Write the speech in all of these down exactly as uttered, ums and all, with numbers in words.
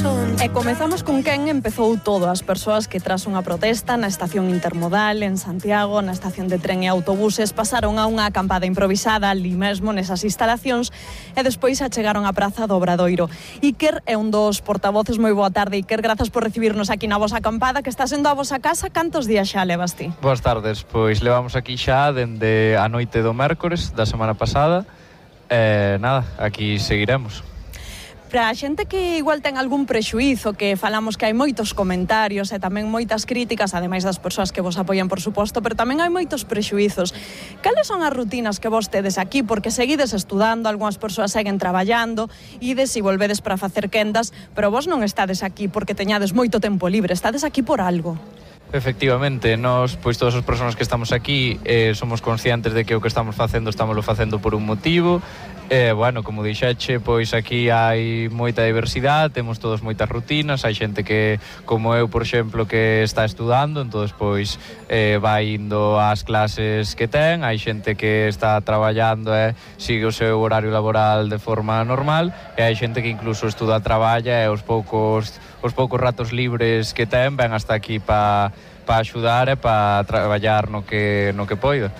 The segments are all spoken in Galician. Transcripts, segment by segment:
corazón. E comezamos con quen empezou todo. As persoas que tras unha protesta na estación intermodal en Santiago, na estación de tren e autobuses, pasaron a unha acampada improvisada ali mesmo nesas instalacións e despois achegaron á praza do Obradoiro. Iker é un dos portavoces. Moi boa tarde, Iker, grazas por recibirnos aquí na vosa acampada, que está sendo a vosa casa. Cantos días xa levas ti? Boas tardes, pois levamos aquí xa dende a noite do mércores da semana pasada e nada, aquí seguiremos. Para a xente que igual ten algún prexuízo, que falamos que hai moitos comentarios e tamén moitas críticas, ademais das persoas que vos apoian, por suposto, pero tamén hai moitos prexuízos. Cales son as rutinas que vos tedes aquí? Porque seguides estudando, algunhas persoas seguen traballando, ides e volvedes para facer quendas, pero vos non estades aquí porque teñades moito tempo libre, estades aquí por algo. Efectivamente, nós, pois todas as persoas que estamos aquí eh, somos conscientes de que o que estamos facendo estámoslo facendo por un motivo. E, eh, bueno, como dixeche, pois aquí hai moita diversidade, temos todos moitas rutinas, hai xente que, como eu, por exemplo, que está estudando, entón, pois, eh, vai indo ás clases que ten, hai xente que está traballando e eh, sigue o seu horario laboral de forma normal, e hai xente que incluso estuda, traballa e os poucos, os poucos ratos libres que ten ven hasta aquí para pa axudar e para traballar no que, no que poida.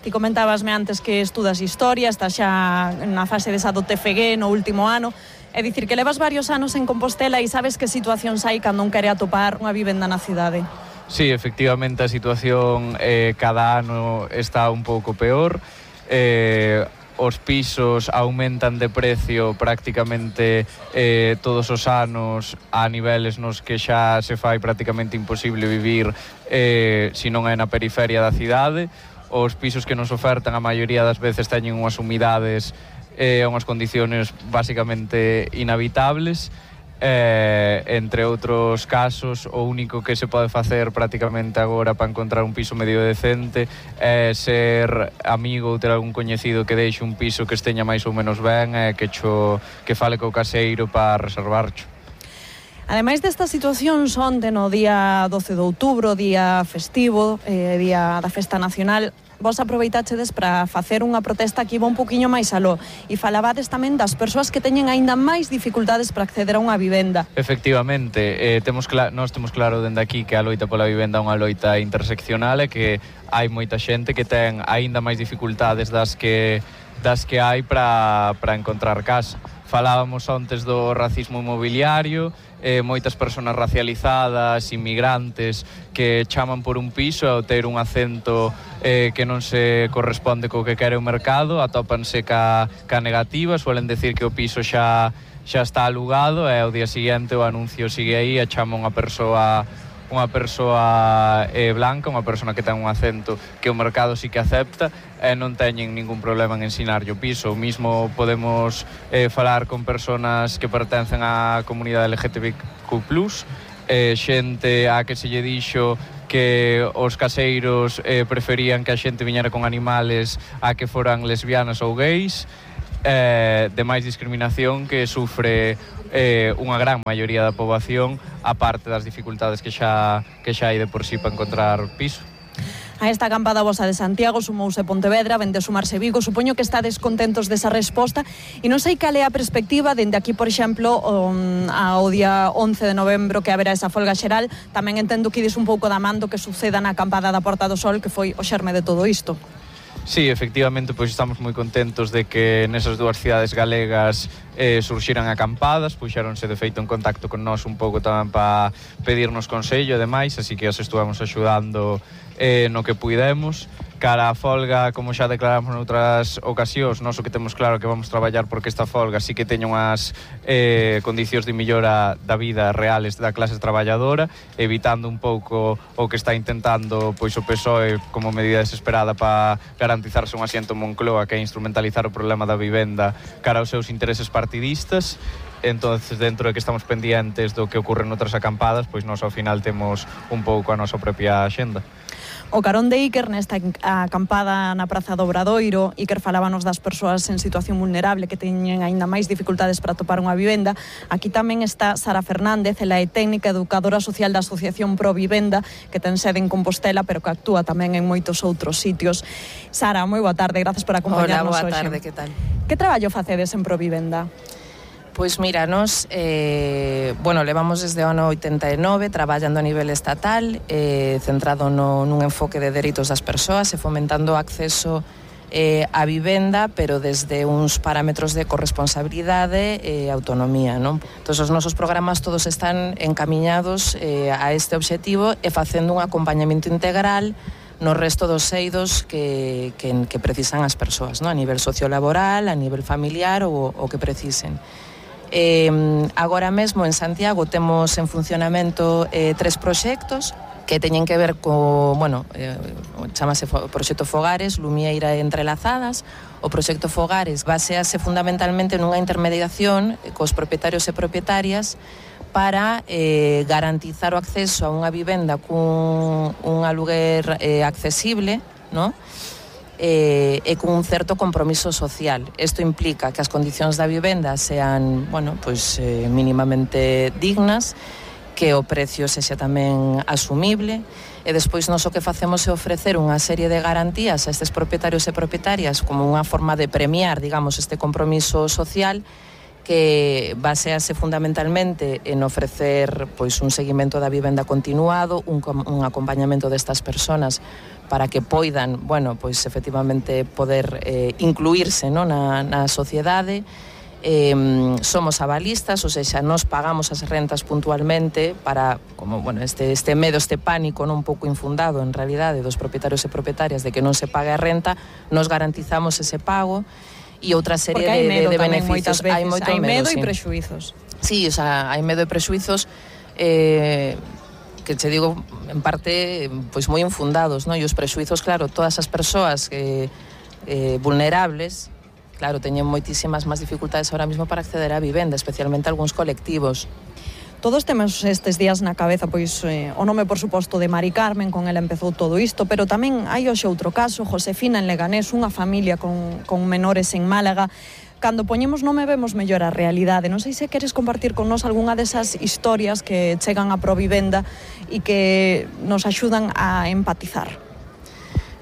Ti comentabasme antes que estudas historia, estás xa na fase desa do T F G no último ano, é dicir que levas varios anos en Compostela e sabes que situacións hai cando un quere atopar unha vivenda na cidade. Sí, efectivamente a situación eh, cada ano está un pouco peor. Eh, os pisos aumentan de precio prácticamente eh, todos os anos a niveles nos que xa se fai prácticamente imposible vivir eh, se non é na periferia da cidade. Os pisos que nos ofertan a maioría das veces teñen unhas humidades e eh, unhas condiciones basicamente inhabitables. Eh, entre outros casos, o único que se pode facer prácticamente agora para encontrar un piso medio decente é ser amigo ou ter algún coñecido que deixe un piso que esteña máis ou menos ben e que, cho, que fale co caseiro para reservarcho. Ademais desta situación, onte no día doce de outubro, día festivo, eh, día da Festa Nacional, vos aproveitachedes para facer unha protesta que iba un poquinho máis aló e falabades tamén das persoas que teñen aínda máis dificultades para acceder a unha vivenda. Efectivamente, eh, temos cla- nós temos claro dende aquí que a loita pola vivenda é unha loita interseccional e que hai moita xente que ten aínda máis dificultades das que, das que hai para, para encontrar casa. Falábamos antes do racismo inmobiliario, eh, moitas persoas racializadas, inmigrantes, que chaman por un piso e ao ter un acento eh, que non se corresponde co que quere o mercado, atópanse ca, ca negativa, suelen decir que o piso xa, xa está alugado e ao día seguinte o anuncio sigue aí e chama unha persoa unha persoa eh, blanca, unha persona que ten un acento que o mercado sí que acepta e non teñen ningún problema en ensinarlle o piso. O mismo podemos eh, falar con personas que pertencen á comunidade L G T B Q plus, eh, xente a que se lle dixo que os caseiros eh, preferían que a xente viñera con animales a que foran lesbianas ou gays, eh, de máis discriminación que sufre eh, unha gran maioría da poboación, a parte das dificultades que xa, que xa hai de por sí para encontrar piso. A esta acampada vosa de Santiago sumouse Pontevedra, vende sumarse Vigo. Supoño que estades contentos desa resposta e non sei cal é a perspectiva dende aquí, por exemplo, um, ao día once de novembro que haberá esa folga xeral. Tamén entendo que ides un pouco da man do que suceda na acampada da Porta do Sol, que foi o xerme de todo isto. Sí, efectivamente, pois estamos moi contentos de que nesas dúas cidades galegas eh, surxiran acampadas, puxéronse de feito en contacto con nós un pouco tamén para pedirnos consello e demais, así que os estuvamos axudando eh, no que puidemos. Cara a folga, como xa declaramos noutras ocasións, nós o que temos claro que vamos traballar porque esta folga sí que teña unhas eh, condicións de millora da vida reales da clase traballadora, evitando un pouco o que está intentando pois o P S O E como medida desesperada para garantizarse un asiento en Moncloa, que é instrumentalizar o problema da vivenda cara aos seus intereses partidistas. Entonces, dentro de que estamos pendientes do que ocorre noutras acampadas, pois nós ao final temos un pouco a nosa propia axenda. O carón de Iker nesta acampada na Praza do Obradoiro. Iker falábanos das persoas en situación vulnerable que teñen aínda máis dificultades para atopar unha vivenda. Aquí tamén está Sara Fernández, ela é técnica educadora social da Asociación Pro Vivenda, que ten sede en Compostela, pero que actúa tamén en moitos outros sitios. Sara, moi boa tarde, grazas por acompañarnos hoxe. Hola, boa tarde, que tal? Que traballo facedes en Pro Vivenda? Pois mira, nos, eh, bueno, levamos desde o ano oitenta e nove traballando a nivel estatal, eh, centrado no, nun enfoque de dereitos das persoas e fomentando o acceso eh, a vivenda, pero desde uns parámetros de corresponsabilidade e autonomía, non? Entón, os nosos programas todos están encamiñados eh, a este obxectivo e facendo un acompañamento integral no resto dos eidos que, que, que precisan as persoas, non? A nivel sociolaboral, a nivel familiar ou o que precisen. Eh, agora mesmo en Santiago temos en funcionamento eh, tres proxectos que teñen que ver co, bueno, eh, chamase o proxecto Fogares, Lumieira e Entrelazadas. O proxecto Fogares basease fundamentalmente nunha intermediación cos propietarios e propietarias para eh, garantizar o acceso a unha vivenda cun un aluguer eh, accesible, non? Eh, e con un certo compromiso social. Isto implica que as condicións da vivenda sean, bueno, pois, eh, mínimamente dignas, que o precio sexa tamén asumible, e despois nos o que facemos é ofrecer unha serie de garantías a estes propietarios e propietarias como unha forma de premiar, digamos, este compromiso social, que basease fundamentalmente en ofrecer pois un seguimento da vivenda continuado, un, un acompañamento destas persoas para que poidan, bueno, pois efectivamente poder eh, incluirse, no, na, na sociedade. Eh, somos avalistas, ou seja, nos pagamos as rentas puntualmente para, como, bueno, este, este medo, este pánico, non, un pouco infundado en realidade dos propietarios e propietarias de que non se pague a renta, nos garantizamos ese pago e outra serie de, de, de beneficios. Veces, hai moito hai medo, medo sí. E prexuizos. Sí, o sea, hai medo e prexuizos eh, que che digo, en parte, pois moi infundados, non? E os prexuizos, claro, todas as persoas que, eh, vulnerables, claro, teñen moitísimas máis dificultades ahora mismo para acceder á vivenda, especialmente algúns colectivos. Todos temos estes días na cabeza pois eh, o nome, por suposto, de Mari Carmen, con ela empezou todo isto, pero tamén hai hoxe outro caso, Josefina en Leganés, unha familia con, con menores en Málaga. Cando poñemos nome vemos mellor a realidade. Non sei se queres compartir con nós algunha desas historias que chegan a Provivenda e que nos axudan a empatizar.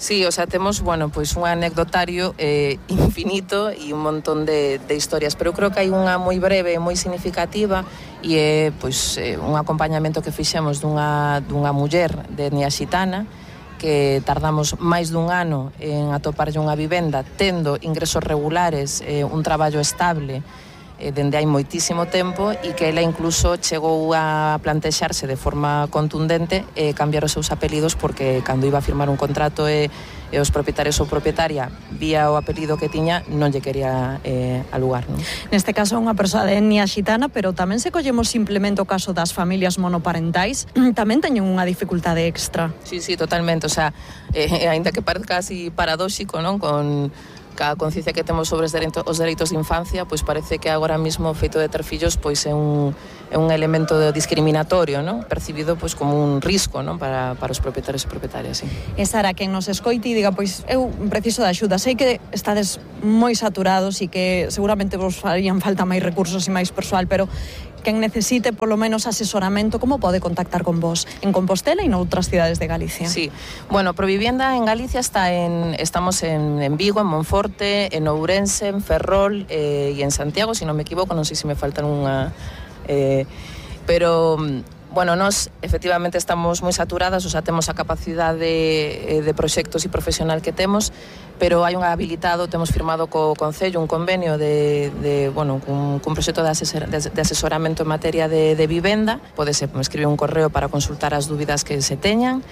Sí, o sea, temos, bueno, pois un anecdotario eh, infinito e un montón de, de historias, pero eu creo que hai unha moi breve e moi significativa e é, pois, eh, un acompañamento que fixemos dunha, dunha muller de etnia xitana que tardamos máis dun ano en atoparlle unha vivenda, tendo ingresos regulares, eh, un traballo estable, eh, dende hai moitísimo tempo, e que ela incluso chegou a plantexarse de forma contundente eh, cambiar os seus apelidos, porque cando iba a firmar un contrato e, e os propietarios ou propietaria vía o apelido que tiña, non lle quería eh, alugar, non? Neste caso unha persoa de etnia xitana, pero tamén se collemos simplemente o caso das familias monoparentais, tamén teñen unha dificultade extra. Sí, sí, totalmente, o sea, eh, ainda que parezca así paradóxico, non? Con a conciencia que temos sobre os dereitos, os dereitos de infancia, pois parece que agora mismo o feito de ter fillos pois é un, é un elemento discriminatorio, non? Percibido pois como un risco, non? Para, para os propietarios e propietarias, sí. E Sara, quen nos escoite e diga, pois eu preciso de axuda, sei que estades moi saturados e que seguramente vos farían falta máis recursos e máis persoal, pero quen necesite polo menos asesoramento, como pode contactar con vos en Compostela e noutras cidades de Galicia? Sí, bueno, Provivienda en Galicia está en, estamos en, en Vigo, en Monforte, en Ourense, en Ferrol eh, e en Santiago, se si non me equivoco, non sei se me faltan unha... Eh, pero... Bueno, nós efectivamente estamos moi saturadas, o sea, temos a capacidade de proxectos e profesional que temos, pero hai un habilitado, temos firmado co Concello un convenio de, de bueno, un, un proxecto de, asesor, de, de asesoramento en materia de, de vivenda. Podese escribir un correo para consultar as dúbidas que se teñan.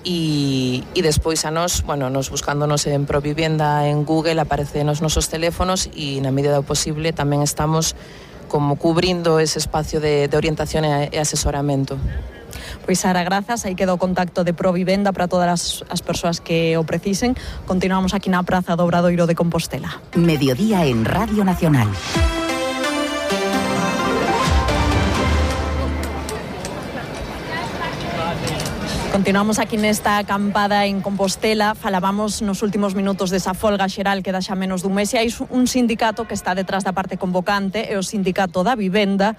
E, e despois a nós, bueno, nos buscándonos en Provivienda en Google, aparece nos nosos teléfonos e na medida do posible tamén estamos como cubrindo ese espacio de, de orientación e, e asesoramento. Pois Sara, grazas, aí queda o contacto de Provivenda para todas as, as persoas que o precisen. Continuamos aquí na Praza do Obradoiro de Compostela. Mediodía en Radio Nacional. Continuamos aquí nesta acampada en Compostela. Falábamos nos últimos minutos desa folga xeral que dá xa menos dun mes, e hai un sindicato que está detrás da parte convocante, é o Sindicato da Vivenda,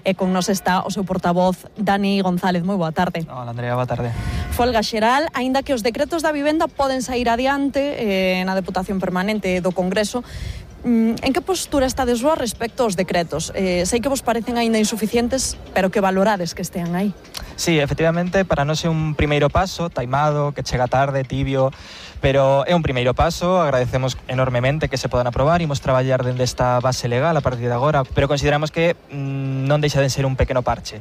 e con nos está o seu portavoz Dani González. Moi boa tarde. Hola, Andrea, boa tarde. Folga xeral, aínda que os decretos da vivenda poden sair adiante eh, na Deputación Permanente do Congreso, En que postura estades vos respecto aos decretos? Eh, sei que vos parecen aínda insuficientes, pero que valorades que estean aí. Sí, efectivamente, para nós é un primeiro paso, taimado, que chega tarde, tibio, pero é un primeiro paso, agradecemos enormemente que se podan aprobar, imos traballar dende esta base legal a partir de agora, pero consideramos que mmm, non deixa de ser un pequeno parche.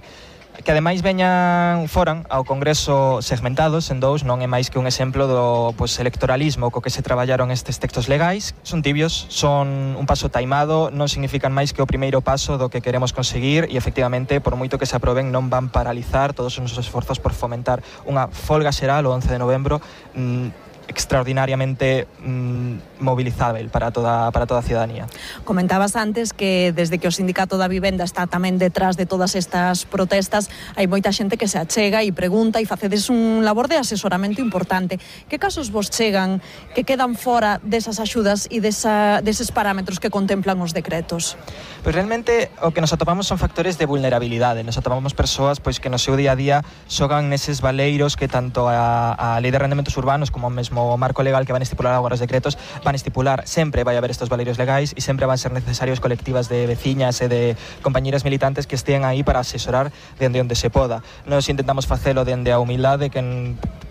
Que ademais veñan foran ao Congreso segmentados en dous non é máis que un exemplo do pues, electoralismo co que se traballaron estes textos legais. Son tibios, son un paso taimado, non significan máis que o primeiro paso do que queremos conseguir e efectivamente, por moito que se aproben, non van paralizar todos os nosos esforzos por fomentar unha folga xeral o once de novembro mmm, extraordinariamente mmm, movilizável para toda, para toda a ciudadanía. Comentabas antes que desde que o Sindicato da Vivenda está tamén detrás de todas estas protestas, hai moita xente que se achega e pregunta e facedes un labor de asesoramento importante. Que casos vos chegan que quedan fora desas axudas e desa, deses parámetros que contemplan os decretos? Pois realmente o que nos atopamos son factores de vulnerabilidade. Nos atopamos persoas pois que no seu día a día xogan neses valeiros que tanto a, a Lei de Arrendamentos Urbanos como o mesmo o marco legal que van estipular agora os decretos van estipular, sempre vai haber estos valeiros legais e sempre van ser necesarios colectivas de veciñas e de compañeiras militantes que estean aí para asesorar dende onde se poda. Nos intentamos facelo dende a humildade que,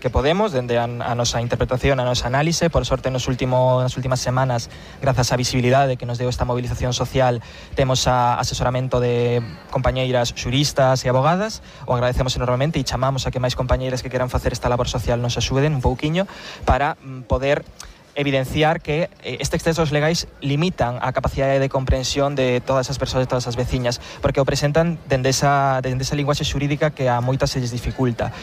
que podemos, dende a, a nosa interpretación, a nosa análise. Por sorte, nos último, nas últimas semanas, grazas á visibilidade que nos deu esta movilización social, temos a asesoramento de compañeiras xuristas e abogadas. O agradecemos enormemente e chamamos a que máis compañeiras que queran facer esta labor social nos axuden un pouquiño para para poder evidenciar que estes textos legais limitan a capacidade de comprensión de todas as persoas, de todas as veciñas, porque o presentan dende esa, dende esa linguaxe xurídica que a moitas se lles dificulta.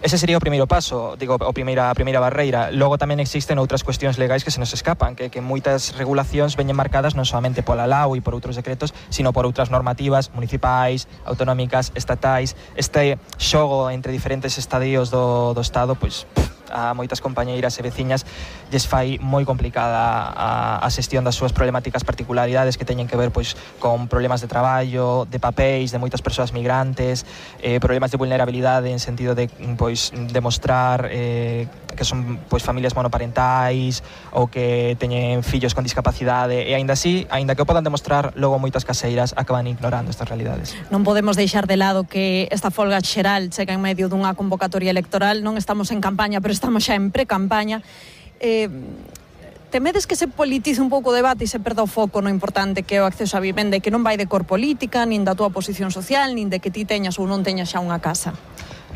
Ese sería o primeiro paso, digo, o primeira, a primeira barreira. Logo tamén existen outras cuestións legais que se nos escapan, que, que moitas regulacións veñen marcadas non solamente pola L A U e por outros decretos, sino por outras normativas municipais, autonómicas, estatais. Este xogo entre diferentes estadios do, do Estado, pois, a moitas compañeiras e veciñas lles fai moi complicada a, a xestión das súas problemáticas particularidades que teñen que ver pois con problemas de traballo, de papéis, de moitas persoas migrantes, eh, problemas de vulnerabilidade en sentido de pois demostrar eh, que son pois familias monoparentais ou que teñen fillos con discapacidade e aínda así, aínda que o podan demostrar, logo moitas caseiras acaban ignorando estas realidades. Non podemos deixar de lado que esta folga xeral chega en medio dunha convocatoria electoral. Non estamos en campaña, pero estamos xa en pre-campaña. Eh, temedes que se politice un pouco o debate e se perda o foco no importante que é o acceso á vivenda e que non vai de cor política, nin da túa posición social, nin de que ti teñas ou non teñas xa unha casa?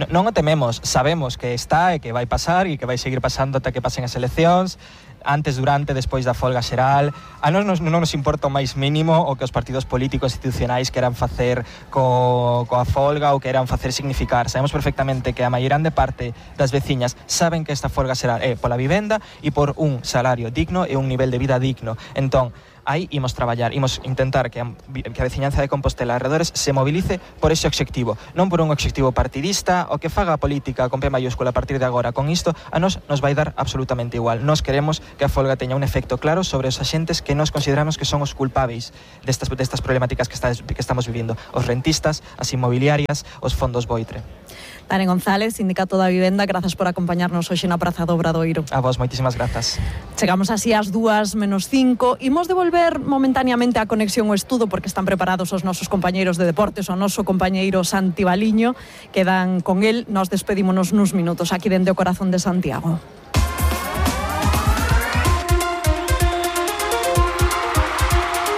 Non o tememos, sabemos que está e que vai pasar e que vai seguir pasando ata que pasen as eleccións, antes, durante, despois da folga xeral. A nós non nos importa o máis mínimo o que os partidos políticos institucionais queran facer co, coa folga ou queran facer significar. Sabemos perfectamente que a maioría de parte das veciñas saben que esta folga xeral é pola vivenda e por un salario digno e un nivel de vida digno. Entón, aí imos traballar, imos intentar que a, que a veciñanza de Compostela arredores se movilice por ese obxectivo, non por un obxectivo partidista, o que faga a política con P mayúscula a partir de agora con isto, a nos nos vai dar absolutamente igual. Nos queremos que a folga teña un efecto claro sobre os axentes que nos consideramos que son os culpáveis destas, destas problemáticas que, está, que estamos vivindo, os rentistas, as inmobiliarias, os fondos Boitre. Dani González, Sindicato da Vivenda, grazas por acompañarnos hoxe na Praza do Obradoiro. A vos, moitísimas grazas. Chegamos así ás dúas menos cinco. Imos devolver momentaneamente a conexión ao estudo porque están preparados os nosos compañeiros de deportes, o noso compañeiro Santi Baliño, quedan con el. Nos despedímonos nuns minutos aquí dende o corazón de Santiago.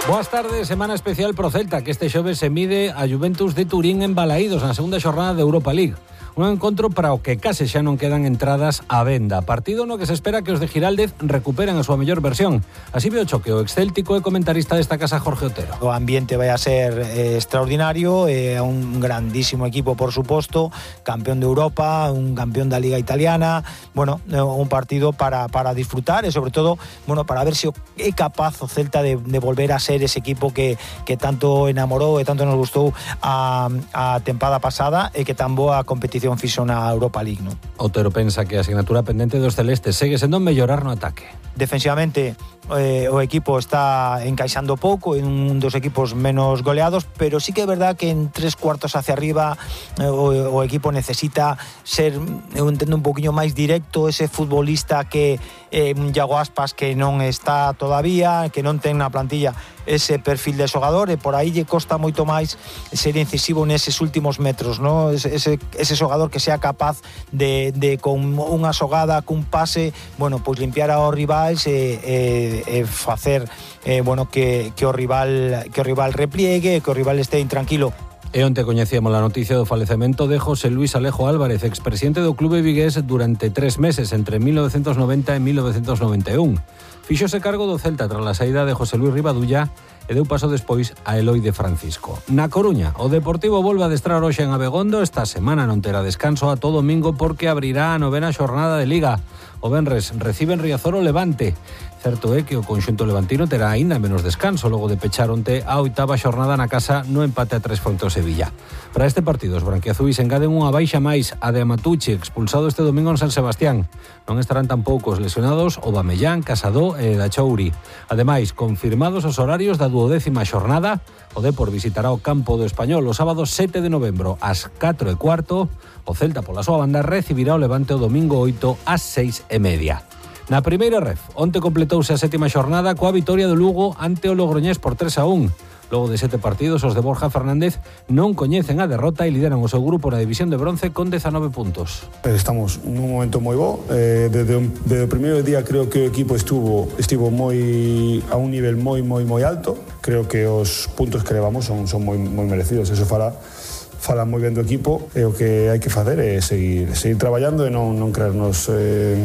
Boas tardes, semana especial pro Celta, que este xoves se mide a Juventus de Turín en Balaídos na segunda xornada de Europa League. Un encontro para o que case xa non quedan entradas á venda. Partido no que se espera que os de Giraldez recuperen a súa mellor versión. Así ve o choque o excéltico e comentarista desta casa Jorge Otero. O ambiente vai a ser eh, extraordinario, é eh, un grandísimo equipo, por suposto, campeón de Europa, un campeón da Liga Italiana, bueno, un partido para, para disfrutar e sobre todo, bueno, para ver se é capaz o Celta de, de volver a ser ese equipo que, que tanto enamorou e tanto nos gustou a, a tempada pasada e que tan boa competición competición fixo na Europa League, non? Otero pensa que a asignatura pendente dos celestes segue sendo mellorar no ataque. Defensivamente eh, o equipo está encaixando pouco, en un dos equipos menos goleados, pero sí que é verdad que en tres cuartos hacia arriba eh, o, o equipo necesita ser, eu entendo, un poquinho máis directo, ese futbolista que eh, Iago Aspas que non está todavía, que non ten na plantilla ese perfil de xogador, e por aí lle costa moito máis ser incisivo neses últimos metros, ¿no? Ese, ese, ese xogador que sea capaz de, de con unha xogada, cun pase, bueno, pois limpiar ao rivais e, e, e facer eh, bueno, que, que o rival que o rival repliegue, que o rival este intranquilo. E onte coñecíamos a noticia do falecemento de José Luis Alejo Álvarez, expresidente do clube vigués durante tres meses, entre mil novecientos noventa e mil novecientos noventa e un. Fíxose cargo do Celta tras a saída de José Luis Rivadulla e deu paso despois a Eloi de Francisco. Na Coruña, o Deportivo volve a adestrar hoxe en Abegondo. Esta semana non terá descanso a todo domingo porque abrirá a novena xornada de Liga. O venres reciben Riazor o Levante. Certo é que o conxunto levantino terá aínda menos descanso logo de pechar onte a oitava xornada na casa no empate a tres fronte ao Sevilla. Para este partido, os branquiazuis engaden unha baixa máis, a de Amatucci, expulsado este domingo en San Sebastián. Non estarán tampouco os lesionados Aubameyang, Casado e Dachouri. Ademais, confirmados os horarios da duodécima xornada, o Depor visitará o campo do Español o sábado sete de novembro ás catro e cuarto. O Celta, pola súa banda, recibirá o Levante o domingo oito ás seis e media. Na primeira ref, onte completouse a sétima xornada coa vitoria do Lugo ante o Logroñés por tres a un. Logo de sete partidos, os de Borja Fernández non coñecen a derrota e lideran o seu grupo na división de bronce con dezanove puntos. Estamos nun momento moi bo. Eh, desde, desde o primeiro día creo que o equipo estuvo estivo moi a un nivel moi moi moi alto. Creo que os puntos que levamos son, son moi, moi merecidos. Eso fala Falan moi ben do equipo e o que hai que facer é seguir, seguir traballando e non, non creernos eh,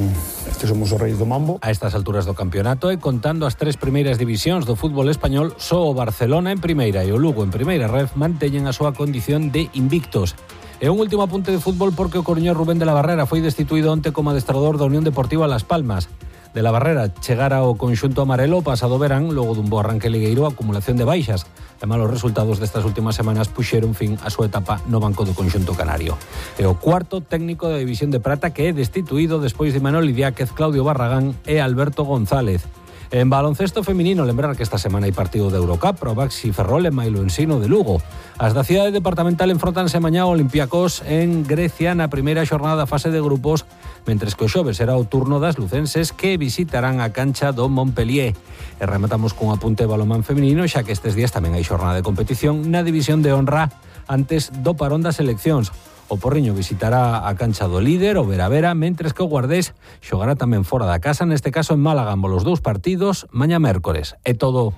que somos os reis do mambo. A estas alturas do campeonato e contando as tres primeiras divisións do fútbol español, só o Barcelona en primeira e o Lugo en primeira ref manteñen a súa condición de invictos. E un último apunte de fútbol porque o coruñés Rubén de la Barrera foi destituído onte como adestrador da Unión Deportiva Las Palmas. De la Barrera chegara ao conxunto amarelo pasado verán logo dun bo arranque ligueiro, acumulación de baixas e malos resultados destas últimas semanas puxeron fin á súa etapa no banco do conxunto canario. E o cuarto técnico da división de prata que é destituído despois de Manuel Idiáquez, Claudio Barragán e Alberto González. En baloncesto feminino, lembrar que esta semana hai partido de Eurocup pro Baxi Ferrol e Mailo Ensino de Lugo. As da cidade departamental enfrontanse mañá ao Olympiacos en Grecia na primeira xornada da fase de grupos, mentres que o xoves será o turno das lucenses que visitarán a cancha do Montpellier. E rematamos cun apunte balomán feminino, xa que estes días tamén hai xornada de competición na división de honra antes do parón das eleccións. O Porriño visitará a cancha do líder, o Vera Vera, mentres que o Guardés xogará tamén fora da casa, neste caso en Málaga, ambos os dous partidos, mañá mércores. É todo.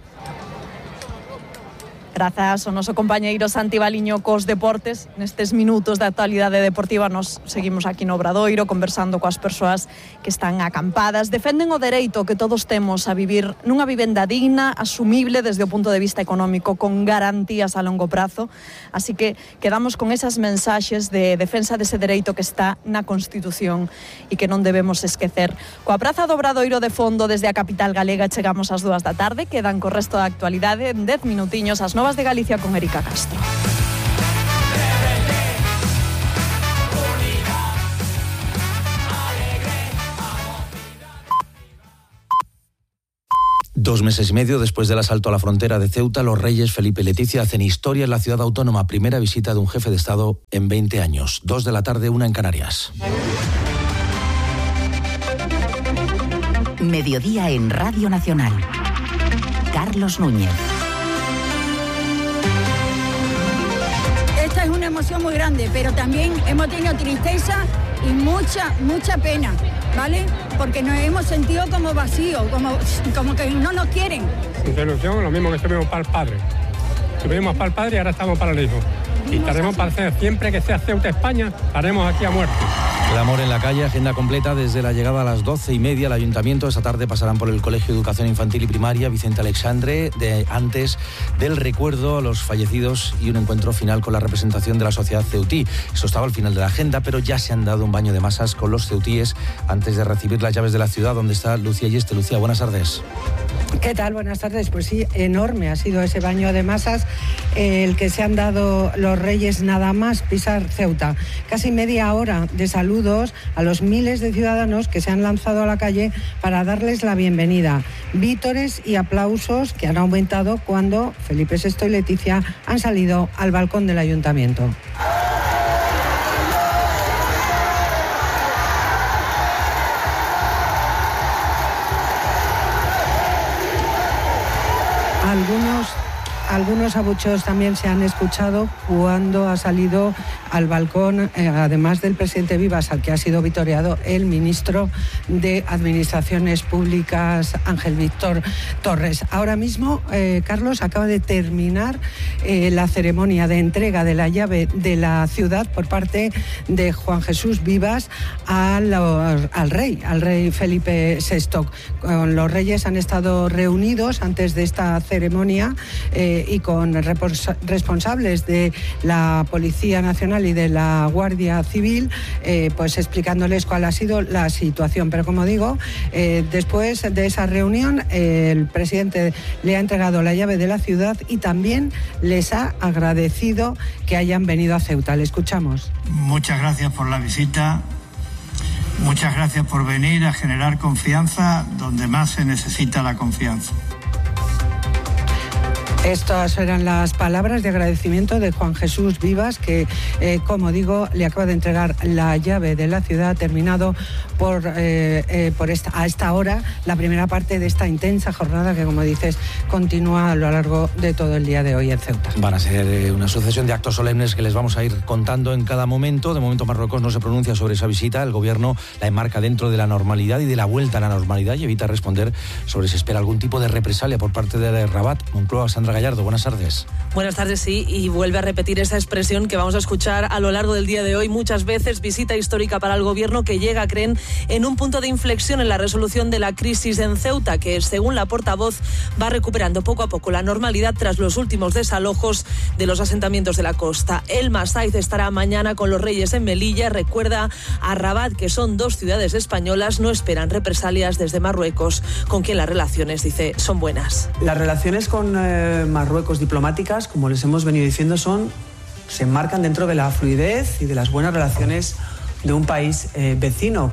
Grazas ao noso compañeiro Santi Baliño cos deportes. Nestes minutos de actualidade deportiva nos seguimos aquí no Obradoiro conversando coas persoas que están acampadas. Defenden o dereito que todos temos a vivir nunha vivenda digna, asumible desde o punto de vista económico, con garantías a longo prazo. Así que quedamos con esas mensaxes de defensa dese dereito que está na Constitución e que non debemos esquecer. Coa Praza do Obradoiro de fondo desde a capital galega chegamos ás dúas da tarde. Quedan co resto da actualidade en dez minutiños as novas de Galicia con Erika Castro. Dos meses y medio después del asalto a la frontera de Ceuta, los reyes Felipe y Leticia hacen historia en la ciudad autónoma. Primera visita de un jefe de Estado en veinte años. Dos de la tarde, una en Canarias. Mediodía en Radio Nacional. Carlos Núñez. Esta es una emoción muy grande, pero también hemos tenido tristeza y mucha, mucha pena, ¿vale? Porque nos hemos sentido como vacíos, como, como que no nos quieren. Mucha ilusión, lo mismo que estuvimos para el padre. Estuvimos para el padre y ahora estamos para el hijo. Y estaremos para hacer, siempre que sea Ceuta España, estaremos aquí a muerte. Clamor en la calle, agenda completa desde la llegada a las doce y media al Ayuntamiento. Esta tarde pasarán por el Colegio de Educación Infantil y Primaria Vicente Alexandre, de, antes del recuerdo a los fallecidos y un encuentro final con la representación de la sociedad ceutí. Eso estaba al final de la agenda, pero ya se han dado un baño de masas con los ceutíes antes de recibir las llaves de la ciudad, donde está Lucía Yeste. Lucía, buenas tardes. ¿Qué tal? Buenas tardes. Pues sí, enorme ha sido ese baño de masas eh, el que se han dado los Reyes nada más pisar Ceuta. Casi media hora de saludos a los miles de ciudadanos que se han lanzado a la calle para darles la bienvenida. Vítores y aplausos que han aumentado cuando Felipe sexto y Leticia han salido al balcón del Ayuntamiento. Algunos, algunos abucheos también se han escuchado cuando ha salido al balcón, eh, además del presidente Vivas, al que ha sido vitoreado el ministro de Administraciones Públicas, Ángel Víctor Torres. Ahora mismo, eh, Carlos, acaba de terminar eh, la ceremonia de entrega de la llave de la ciudad por parte de Juan Jesús Vivas a los, al rey, al rey Felipe sexto. Con los reyes han estado reunidos antes de esta ceremonia eh, y con responsables de la Policía Nacional y de la Guardia Civil, eh, pues explicándoles cuál ha sido la situación. Pero como digo, eh, después de esa reunión, eh, el presidente le ha entregado la llave de la ciudad y también les ha agradecido que hayan venido a Ceuta. Le escuchamos. Muchas gracias por la visita. Muchas gracias por venir a generar confianza donde más se necesita la confianza. Estas eran las palabras de agradecimiento de Juan Jesús Vivas, que, eh, como digo, le acaba de entregar la llave de la ciudad, terminado por, eh, eh, por esta, a esta hora la primera parte de esta intensa jornada que, como dices, continúa a lo largo de todo el día de hoy en Ceuta. Van a ser eh, una sucesión de actos solemnes que les vamos a ir contando en cada momento. De momento Marruecos no se pronuncia sobre esa visita. El gobierno la enmarca dentro de la normalidad y de la vuelta a la normalidad y evita responder sobre si espera algún tipo de represalia por parte de Rabat. Moncloa, Sandra Gallardo, buenas tardes. Buenas tardes, sí, y vuelve a repetir esa expresión que vamos a escuchar a lo largo del día de hoy muchas veces. Visita histórica para el gobierno que llega, creen, en un punto de inflexión en la resolución de la crisis en Ceuta, que según la portavoz va recuperando poco a poco la normalidad tras los últimos desalojos de los asentamientos de la costa. Elma Saiz estará mañana con los Reyes en Melilla. Recuerda a Rabat que son dos ciudades españolas, no esperan represalias desde Marruecos, con quien las relaciones, dice, son buenas. Las relaciones con eh, Marruecos diplomáticas, como les hemos venido diciendo, son se enmarcan dentro de la fluidez y de las buenas relaciones de un país eh, vecino.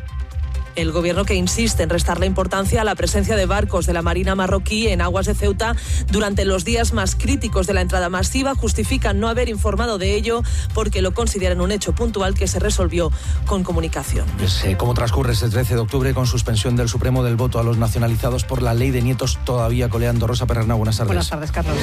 El gobierno que insiste en restarle importancia a la presencia de barcos de la Marina marroquí en aguas de Ceuta durante los días más críticos de la entrada masiva justifican no haber informado de ello porque lo consideran un hecho puntual que se resolvió con comunicación. Pues, eh, ¿Cómo transcurre este trece de octubre con suspensión del Supremo del voto a los nacionalizados por la ley de nietos todavía coleando? Rosa Perrernau, buenas tardes. Buenas tardes, Carlos.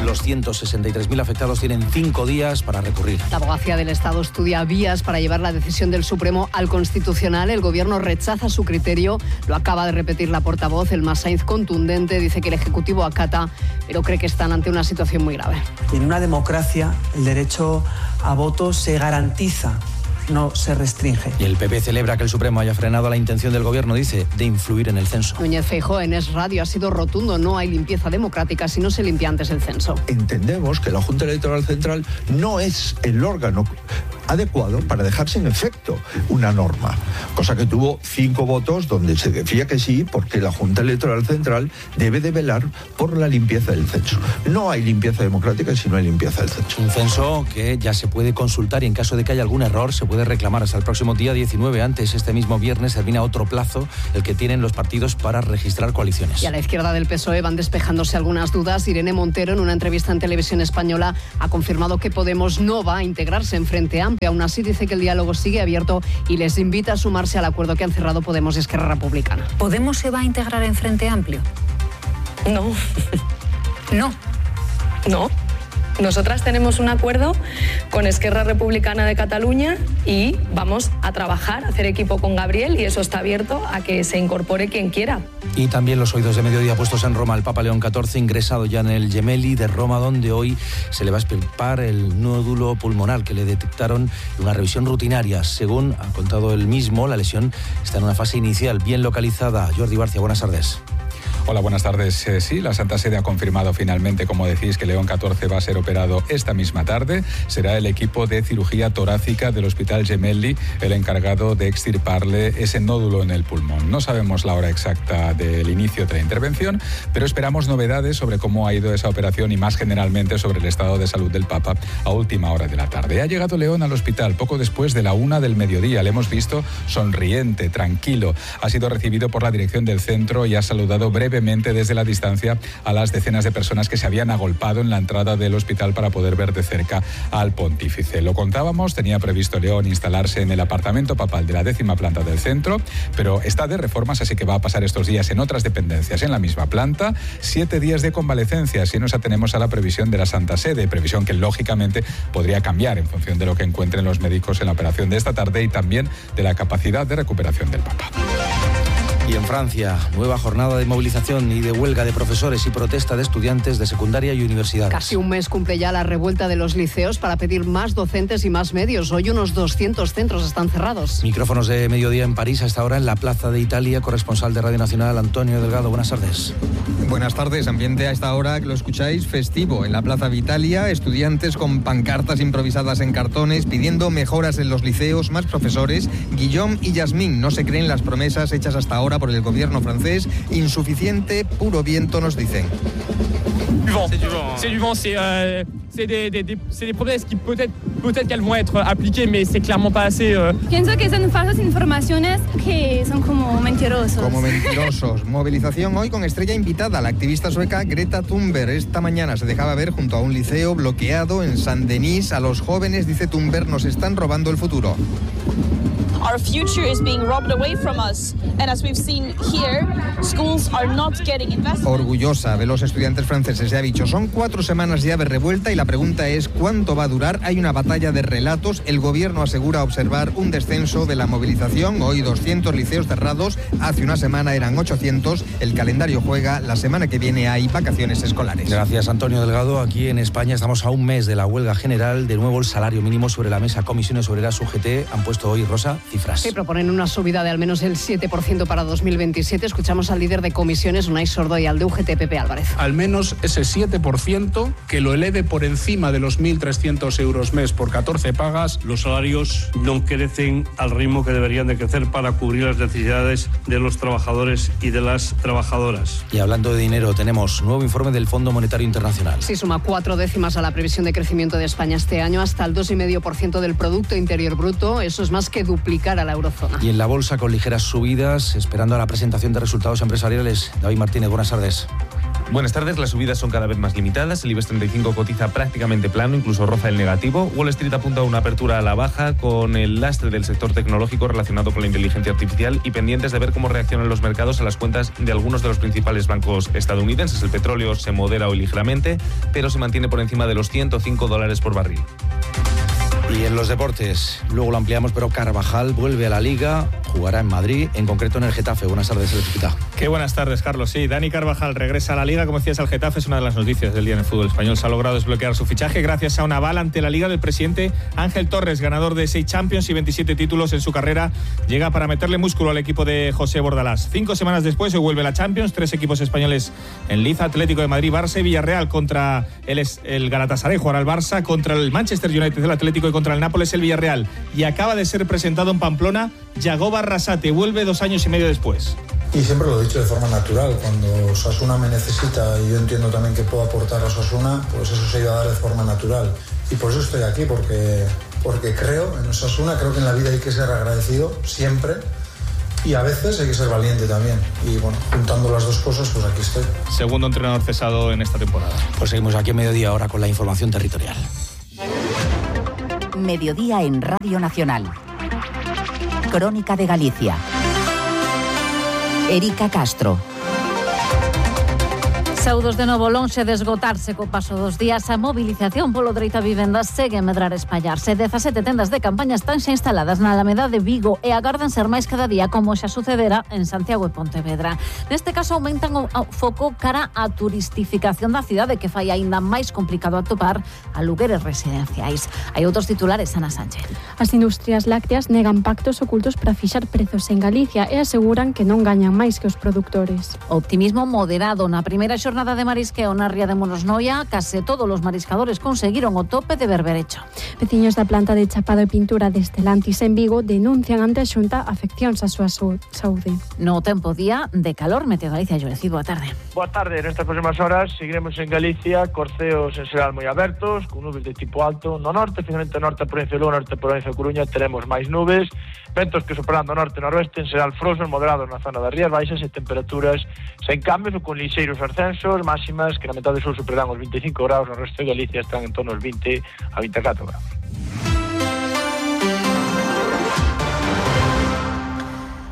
Los ciento sesenta y tres mil afectados tienen cinco días para recurrir. La abogacía del Estado estudia vías para llevar la decisión del Supremo al Constitucional. El gobierno rechaza su criterio, lo acaba de repetir la portavoz. Elma Saiz, contundente, dice que el Ejecutivo acata, pero cree que están ante una situación muy grave. En una democracia el derecho a voto se garantiza, no se restringe. Y el P P celebra que el Supremo haya frenado la intención del gobierno, dice, de influir en el censo. Núñez Feijóo en Es Radio ha sido rotundo: no hay limpieza democrática si no se limpia antes el censo. Entendemos que la Junta Electoral Central no es el órgano adecuado para dejar sin efecto una norma, cosa que tuvo cinco votos donde se decía que sí, porque la Junta Electoral Central debe de velar por la limpieza del censo. No hay limpieza democrática si no hay limpieza del censo. Un censo que ya se puede consultar y en caso de que haya algún error se puede reclamar hasta el próximo día diecinueve. Antes, este mismo viernes, termina otro plazo, el que tienen los partidos para registrar coaliciones. Y a la izquierda del P S O E van despejándose algunas dudas. Irene Montero, en una entrevista en Televisión Española, ha confirmado que Podemos no va a integrarse en Frente Amplio. Aún así, dice que el diálogo sigue abierto y les invita a sumarse al acuerdo que han cerrado Podemos y Esquerra Republicana. ¿Podemos se va a integrar en Frente Amplio? No. No. No. Nosotras tenemos un acuerdo con Esquerra Republicana de Cataluña y vamos a trabajar, a hacer equipo con Gabriel, y eso está abierto a que se incorpore quien quiera. Y también los oídos de mediodía puestos en Roma. El Papa León catorce ingresado ya en el Gemelli de Roma, donde hoy se le va a extirpar el nódulo pulmonar que le detectaron en una revisión rutinaria. Según ha contado él mismo, la lesión está en una fase inicial bien localizada. Jordi Barcia, buenas tardes. Hola, buenas tardes. Eh, sí, la Santa Sede ha confirmado finalmente, como decís, que León catorce va a ser operado esta misma tarde. Será el equipo de cirugía torácica del Hospital Gemelli el encargado de extirparle ese nódulo en el pulmón. No sabemos la hora exacta del inicio de la intervención, pero esperamos novedades sobre cómo ha ido esa operación y más generalmente sobre el estado de salud del Papa a última hora de la tarde. Ha llegado León al hospital poco después de la una del mediodía. Le hemos visto sonriente, tranquilo. Ha sido recibido por la dirección del centro y ha saludado brevemente desde la distancia a las decenas de personas que se habían agolpado en la entrada del hospital para poder ver de cerca al pontífice. Lo contábamos, tenía previsto León instalarse en el apartamento papal de la décima planta del centro, pero está de reformas, así que va a pasar estos días en otras dependencias en la misma planta. Siete días de convalecencia, si nos atenemos a la previsión de la Santa Sede, previsión que lógicamente podría cambiar en función de lo que encuentren los médicos en la operación de esta tarde y también de la capacidad de recuperación del Papa. Y en Francia, nueva jornada de movilización y de huelga de profesores y protesta de estudiantes de secundaria y universidades. Casi un mes cumple ya la revuelta de los liceos para pedir más docentes y más medios. Hoy unos doscientos centros están cerrados. Micrófonos de mediodía en París, hasta ahora en la Plaza de Italia. Corresponsal de Radio Nacional, Antonio Delgado. Buenas tardes. Buenas tardes. Ambiente a esta hora, que lo escucháis, festivo. En la Plaza de Italia, estudiantes con pancartas improvisadas en cartones pidiendo mejoras en los liceos, más profesores. Guillaume y Yasmín no se creen las promesas hechas hasta ahora por el gobierno francés. Insuficiente, puro viento, nos dicen. C'est du vent. C'est du vent, c'est euh, c'est des, des, des, c'est des promesses qui peut-être peut-être qu'elles vont être appliquées, mais c'est clairement pas assez. Euh... Pienso que son falsas informaciones que son como mentirosos. Como mentirosos. Movilización hoy con estrella invitada, la activista sueca Greta Thunberg. Esta mañana se dejaba ver junto a un liceo bloqueado en Saint-Denis. A los jóvenes, dice Thunberg, nos están robando el futuro. Our future is being robbed away from us, and as we've seen here, schools are not getting invested. Orgullosa de los estudiantes franceses, ya ha dicho, son cuatro semanas ya de revuelta y la pregunta es ¿cuánto va a durar? Hay una batalla de relatos. El gobierno asegura observar un descenso de la movilización. Hoy doscientos liceos cerrados, hace una semana eran ochocientos. El calendario juega, la semana que viene hay vacaciones escolares. Gracias, Antonio Delgado. Aquí en España estamos a un mes de la huelga general. De nuevo el salario mínimo sobre la mesa. Comisiones Obreras, U G T han puesto hoy, Rosa, cifras. Sí, proponen una subida de al menos el siete por ciento para dos mil veintisiete. Escuchamos al líder de comisiones, Unai Sordo, y al de U G T, Pepe Álvarez. Al menos ese siete por ciento que lo eleve por encima de los mil trescientos euros mes por catorce pagas. Los salarios no crecen al ritmo que deberían de crecer para cubrir las necesidades de los trabajadores y de las trabajadoras. Y hablando de dinero, tenemos nuevo informe del Fondo Monetario Internacional. Sí, suma cuatro décimas a la previsión de crecimiento de España este año, hasta el dos coma cinco por ciento del Producto Interior Bruto. Eso es más que duplicar a la eurozona. Y en la bolsa con ligeras subidas, esperando a la presentación de resultados empresariales. David Martínez, buenas tardes. Buenas tardes, las subidas son cada vez más limitadas. El IBEX treinta y cinco cotiza prácticamente plano, incluso roza el negativo. Wall Street apunta a una apertura a la baja con el lastre del sector tecnológico relacionado con la inteligencia artificial y pendientes de ver cómo reaccionan los mercados a las cuentas de algunos de los principales bancos estadounidenses. El petróleo se modera hoy ligeramente, pero se mantiene por encima de los ciento cinco dólares por barril. Y en los deportes, luego lo ampliamos, pero Carvajal vuelve a la Liga, jugará en Madrid, en concreto en el Getafe. Buenas tardes, Electricita. Qué buenas tardes, Carlos. Sí, Dani Carvajal regresa a la Liga, como decías, al Getafe. Es una de las noticias del día en el fútbol español. Se ha logrado desbloquear su fichaje gracias a un aval ante la Liga del presidente Ángel Torres, ganador de seis Champions y veintisiete títulos en su carrera. Llega para meterle músculo al equipo de José Bordalás. Cinco semanas después se vuelve la Champions, tres equipos españoles en liza: Atlético de Madrid, Barça y Villarreal. Contra el, el Galatasaray jugará el Barça, contra el Manchester United el Atlético y contra el Nápoles el Villarreal. Y acaba de ser presentado en Pamplona Yagoba Arrasate, vuelve dos años y medio después. Y siempre lo he dicho de forma natural, cuando Osasuna me necesita y yo entiendo también que puedo aportar a Osasuna, pues eso se iba a dar de forma natural. Y por eso estoy aquí, porque, porque creo en Osasuna, creo que en la vida hay que ser agradecido siempre y a veces hay que ser valiente también. Y bueno, juntando las dos cosas, pues aquí estoy. Segundo entrenador cesado en esta temporada. Pues seguimos aquí a mediodía ahora con la información territorial. Mediodía en Radio Nacional. Crónica de Galicia. Erika Castro. Saúdos de novo lonxe de esgotarse co paso dos días. A mobilización polo dereito a vivenda segue a medrar e espallarse. dezasete tendas de campaña están xa instaladas na Alameda de Vigo e agardan ser máis cada día, como xa sucedera en Santiago e Pontevedra. Neste caso aumentan o foco cara á turistificación da cidade, que fai aínda máis complicado atopar alugueres residenciais. Hai outros titulares, Ana Sánchez. As industrias lácteas negan pactos ocultos para fixar prezos en Galicia e aseguran que non gañan máis que os produtores. Optimismo moderado na primeira xornada Jornada de marisqueo na ría de Monosnoia. Case todos os mariscadores conseguiron o tope de berberecho. Veciños da planta de chapado e pintura de Estelantis en Vigo denuncian ante a Xunta afeccións á súa saúde. No tempo día de calor, Meteo Galicia, Llorecido, boa tarde. Boa tarde, nestas próximas horas seguiremos en Galicia, corceos en xeral moi abertos, con nubes de tipo alto. No norte, finalmente norte, provincia de Lugo, norte, provincia de Coruña, teremos máis nubes, ventos que sopran do norte e noroeste, en xeral frosos moderados na zona das rías baixas e temperaturas sen cambios ou con lixeiros ascensos, máximas que na metade sur superarán os vinte e cinco graus, no resto de Galicia están en torno aos vinte a vinte e catro graus.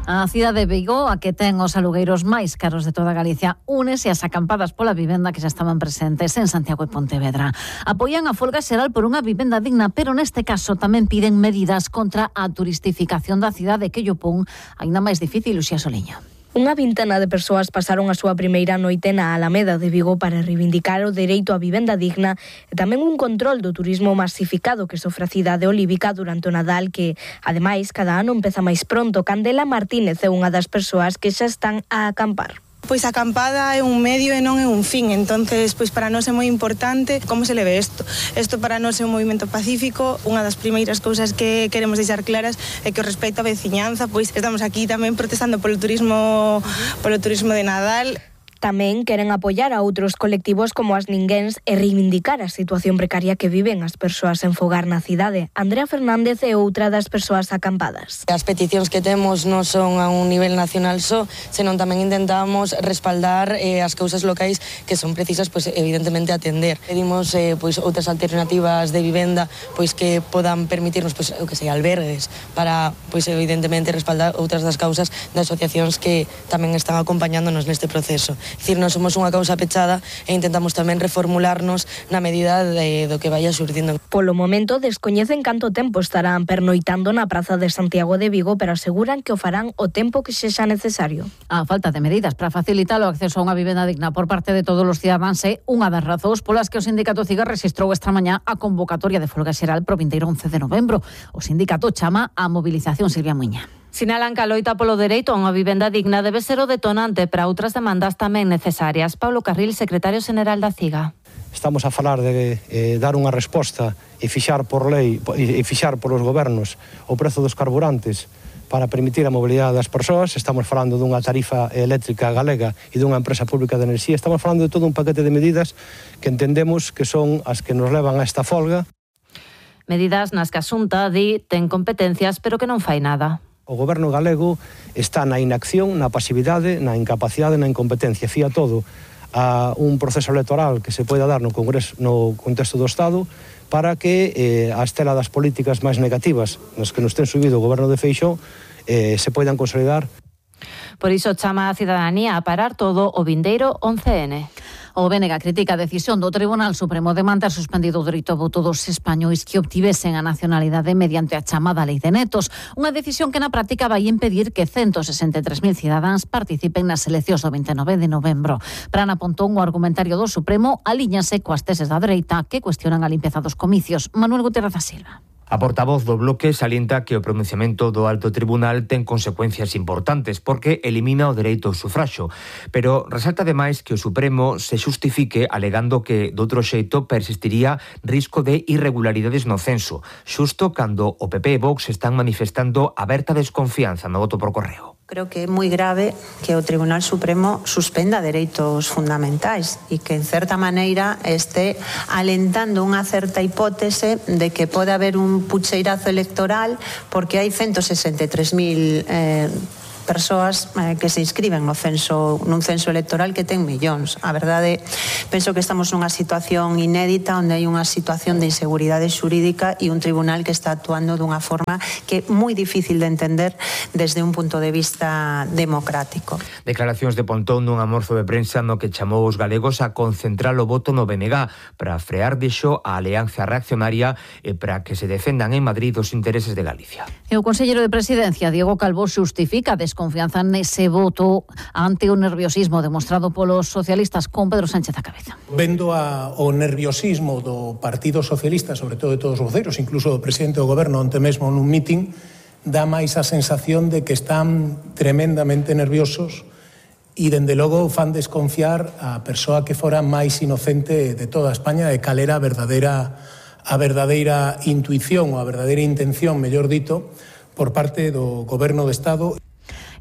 A cidade de Vigo, a que ten os alugueiros máis caros de toda Galicia, únese ás acampadas pola vivenda que xa estaban presentes en Santiago e Pontevedra. Apoian a folga xeral por unha vivenda digna, pero neste caso tamén piden medidas contra a turistificación da cidade, que lle pon aínda máis difícil. Uxía Soliño. Unha vintena de persoas pasaron a súa primeira noite na Alameda de Vigo para reivindicar o dereito á vivenda digna e tamén un control do turismo masificado que sofre a cidade olívica durante o Nadal, que, ademais, cada ano empeza máis pronto. Candela Martínez é unha das persoas que xa están a acampar. Pois a acampada é un medio e non é un fin, entonces pois para nós é moi importante como se leve isto. Isto para nós é un movimento pacífico. Unha das primeiras cousas que queremos deixar claras é que o respecto á veciñanza, pois estamos aquí tamén protestando polo turismo, polo turismo de Nadal. Tamén queren apoiar a outros colectivos como as ninguéns e reivindicar a situación precaria que viven as persoas en fogar na cidade. Andrea Fernández é outra das persoas acampadas. As peticións que temos non son a un nivel nacional só, senón tamén intentamos respaldar eh, as causas locais que son precisas, pois evidentemente atender. Pedimos eh, pois outras alternativas de vivenda, pois que podan permitirnos, pois o que sei, albergues para, pois evidentemente respaldar outras das causas de asociacións que tamén están acompañándonos neste proceso. É dicir, non somos unha causa pechada e intentamos tamén reformularnos na medida de, do que vaya surdindo. Polo momento descoñecen canto tempo estarán pernoitando na Praza de Santiago de Vigo, pero aseguran que o farán o tempo que sexa necesario. A falta de medidas para facilitar o acceso a unha vivenda digna por parte de todos os cidadáns é unha das razóns polas que o sindicato Ciga rexistrou esta mañá a convocatoria de folga xeral pro vinteiro once de novembro. O sindicato chama a mobilización. Silvia Muiña. Sinalan que a loita polo dereito a unha vivenda digna debe ser o detonante para outras demandas tamén necesarias. Paulo Carril, secretario xeral da Ciga. Estamos a falar de eh, dar unha resposta e fixar por lei e fixar polos gobernos o prezo dos carburantes para permitir a mobilidade das persoas. Estamos falando dunha tarifa eléctrica galega e dunha empresa pública de enerxía. Estamos falando de todo un paquete de medidas que entendemos que son as que nos levan a esta folga. Medidas nas que a Xunta di ten competencias, pero que non fai nada. O goberno galego está na inacción, na pasividade, na incapacidade, na incompetencia. Fía todo a un proceso electoral que se poida dar no Congreso, no contexto do Estado, para que eh, a estela das políticas máis negativas nas que nos ten subido o goberno de Feixóo eh, se poidan consolidar. Por iso chama a cidadanía a parar todo o vindeiro once ene. O B N G critica a decisión do Tribunal Supremo de manter suspendido o dereito ao voto dos españois que obtivesen a nacionalidade mediante a chamada Lei de Netos. Unha decisión que na práctica vai impedir que ciento sesenta e tres mil cidadáns participen nas eleccións do vinte e nove de novembro. Para Ana Pontón, o argumentario do Supremo alíñase coas teses da dereita que cuestionan a limpeza dos comicios. Manuel Gutiérrez da Silva. A portavoz do Bloque salienta que o pronunciamento do Alto Tribunal ten consecuencias importantes porque elimina o dereito ao sufraxo, pero resalta ademais que o Supremo se xustifique alegando que doutro xeito persistiría risco de irregularidades no censo, xusto cando o P P e Vox están manifestando aberta desconfianza no voto por correo. Creo que é moi grave que o Tribunal Supremo suspenda dereitos fundamentais e que, en certa maneira, este alentando unha certa hipótese de que pode haber un pucheirazo electoral porque hai ciento sesenta e tres mil eh, persoas eh, que se inscriben no censo, nun censo electoral que ten millóns. A verdade, penso que estamos nunha situación inédita onde hai unha situación de inseguridade xurídica e un tribunal que está actuando dunha forma que é moi difícil de entender desde un punto de vista democrático. Declaracións de Pontón nun almorzo de prensa no que chamou os galegos a concentrar o voto no B N G para frear dixo a Alianza Reaccionaria e para que se defendan en Madrid os intereses de Galicia. E o conselleiro de Presidencia, Diego Calvo, xustifica a desconfianza nese voto ante o nerviosismo demostrado polos socialistas con Pedro Sánchez á cabeza. Vendo a, o nerviosismo do Partido Socialista, sobre todo de todos os voceiros, incluso do presidente do goberno onte mesmo nun mitin, dá máis a sensación de que están tremendamente nerviosos e, dende logo, fan desconfiar a persoa que fora máis inocente de toda España e cal era a verdadeira, a verdadeira intuición ou a verdadeira intención, mellor dito, por parte do Goberno do Estado.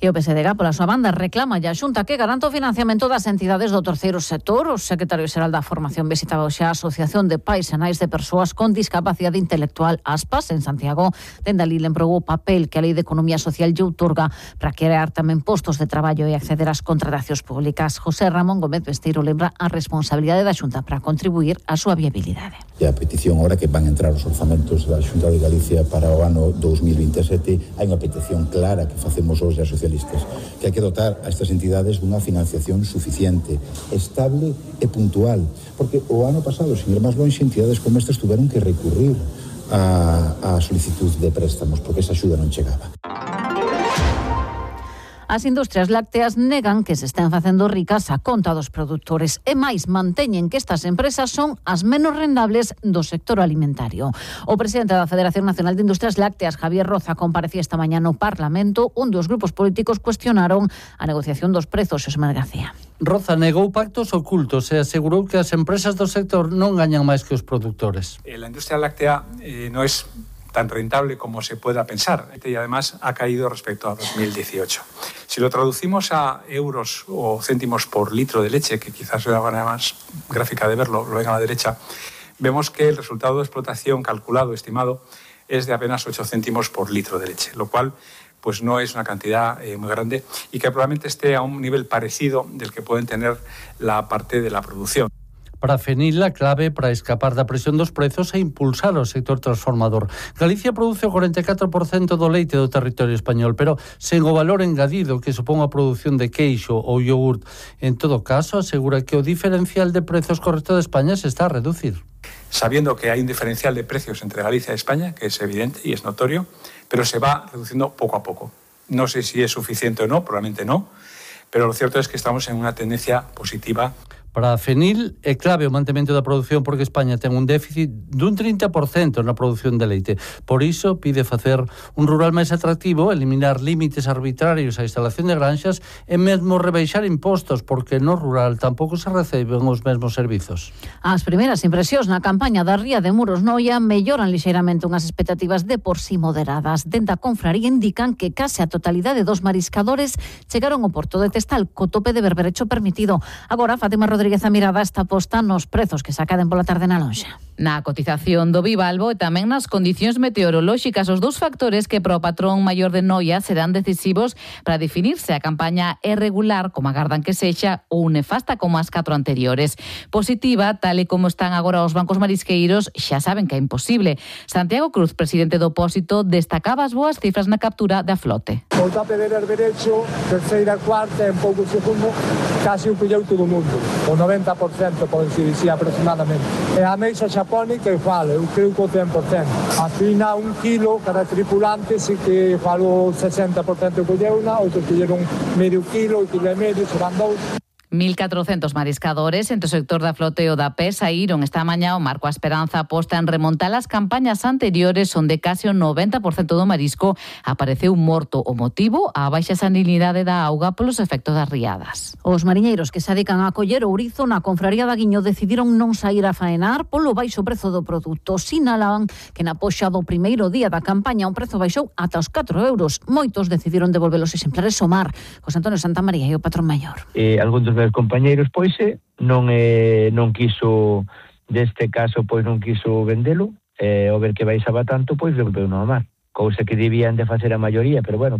E o P S D G, pola súa banda, reclama a Xunta que garanta o financiamento das entidades do terceiro sector. O secretario xeral da Formación visitaba hoxe a Asociación de Pais e Nais de Persoas con Discapacidade Intelectual, ASPAS, en Santiago. Dende ali lembrou o papel que a Lei de Economía Social lle outorga para crear tamén postos de traballo e acceder ás contratacións públicas. José Ramón Gómez Besteiro lembra a responsabilidade da Xunta para contribuir á súa viabilidade. E a petición ahora que van a entrar os orzamentos da Xunta de Galicia para o ano dous mil vinte e sete, hai unha petición clara que facemos hoxe a socialistas, que hai que dotar a estas entidades dunha financiación suficiente, estable e puntual, porque o ano pasado, sin ir máis longe, entidades como estas tuveron que recurrir a, a solicitud de préstamos porque esa axuda non chegaba. As industrias lácteas negan que se estén facendo ricas a conta dos produtores e máis manteñen que estas empresas son as menos rendables do sector alimentario. O presidente da Federación Nacional de Industrias Lácteas, Javier Roza, comparecía esta mañá no Parlamento, onde os grupos políticos cuestionaron a negociación dos prezos. Xosé Manuel García. Roza negou pactos ocultos e asegurou que as empresas do sector non gañan máis que os produtores. La industria láctea eh, no es tan rentable como se pueda pensar y además ha caído respecto a dos mil dieciocho. Si lo traducimos a euros o céntimos por litro de leche, que quizás sea la manera más gráfica de verlo, lo ven a la derecha, vemos que el resultado de explotación calculado, estimado, es de apenas ocho céntimos por litro de leche, lo cual pues no es una cantidad eh, muy grande y que probablemente esté a un nivel parecido del que pueden tener la parte de la producción. Para Fenil, a clave para escapar da presión dos prezos e impulsar o sector transformador. Galicia produce o cuarenta e catro por cento do leite do territorio español, pero sen o valor engadido que supón a produción de queixo ou iogurt. En todo caso, asegura que o diferencial de prezos co resto de España se está a reducir. Sabiendo que hay un diferencial de precios entre Galicia y España, que es evidente y es notorio, pero se va reduciendo poco a poco. No sé si es suficiente o no, probablemente no, pero lo cierto es que estamos en una tendencia positiva. Para a Fenil é clave o mantemento da produción porque España ten un déficit dun trinta por cento na produción de leite. Por iso pide facer un rural máis atractivo, eliminar límites arbitrarios á instalación de granxas e mesmo rebaixar impostos porque no rural tampouco se reciben os mesmos servizos. As primeiras impresións na campaña da Ría de Muros Noia melloran lixeiramente unhas expectativas de por sí moderadas. Dende a confraría indican que case a totalidade dos mariscadores chegaron ao porto de Testal co tope de berberecho permitido. Agora, Fátima Rodríguez Rodríguez a mirada está posta nos prezos que se acaden pola tarde na lonxa. Na cotización do bivalvo e tamén nas condicións meteorolóxicas, os dous factores que para o patrón maior de Noia serán decisivos para definirse a campaña é regular, como agardan que sexa, ou nefasta como as catro anteriores. Positiva, tal e como están agora os bancos marisqueiros, xa saben que é imposible. Santiago Cruz, presidente do Pósito, destacaba as boas cifras na captura da flote. O tope de berberecho, terceira, cuarta e un pouco segundo, casi o colleu todo o mundo. O noventa por cento, pode dicir aproximadamente. E a mesa xapónica eu falo, eu creo que o cen por cento. A fina un kilo cada tripulante, si que falo sesenta por cento colleuna, outros colleron medio kilo, kilo e medio, serán dous. mil catrocentos mariscadores entre o sector da flote e o da P E S saíron esta mañá o marco a esperanza aposta en remontar as campañas anteriores onde case o noventa por cento do marisco apareceu morto. O motivo, a baixa salinidade da auga polos efectos das riadas. Os mariñeiros que se dedican a coller ourizo na confraría da Guiño decidiron non sair a faenar polo baixo prezo do produto. Sinalaban que na poxa do primeiro día da campaña o prezo baixou ata os catro euros. Moitos decidiron devolver os exemplares ao mar. José Antonio Santamaría e o patrón maior. Eh, algúns dos meus compañeiros, pois, non eh, non quiso, deste caso, pois non quiso vendelo, e eh, ao ver que baixaba tanto, pois devolveu no mar. Cousa que debían de facer a maioría, pero bueno.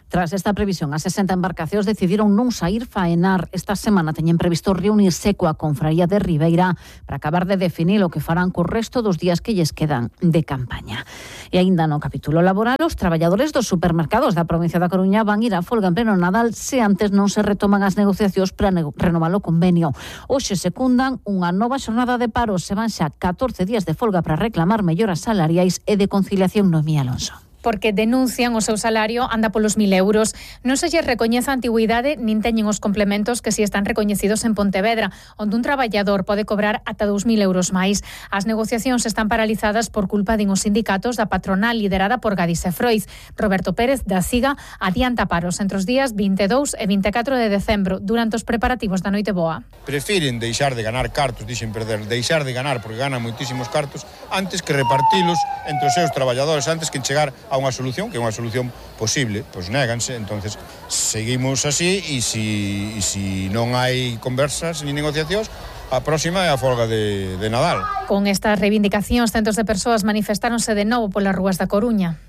Tras esta previsión, as sesenta embarcacións decidiron non saír faenar. Esta semana teñen previsto reunirse coa Confraría de Ribeira para acabar de definir o que farán co resto dos días que lles quedan de campaña. E aínda no capítulo laboral, os traballadores dos supermercados da provincia da Coruña van ir a folga en pleno Nadal se antes non se retoman as negociacións para renovar o convenio. Hoxe secundan unha nova xornada de paro, se van xa catorce días de folga para reclamar melloras salariais e de conciliación. Noemí Alonso. Porque denuncian o seu salario anda polos mil euros. Non se lles recoñece a antigüidade nin teñen os complementos que si están recoñecidos en Pontevedra, onde un traballador pode cobrar ata dous mil euros máis. As negociacións están paralizadas por culpa din os sindicatos da patronal liderada por Gadis e Froiz. Roberto Pérez, da SIGA, adianta paros entre os días vinte e dous e vinte e catro de decembro, durante os preparativos da Noite Boa. Prefiren deixar de ganar cartos, dixen perder, deixar de ganar porque ganan moitísimos cartos, antes que repartilos entre os seus traballadores, antes que chegar a unha solución, que é unha solución posible, pois néganse. Entonces seguimos así e si, e si non hai conversas ni negociacións, a próxima é a folga de, de Nadal. Con estas reivindicacións, centos de persoas manifestáronse de novo polas rúas da Coruña.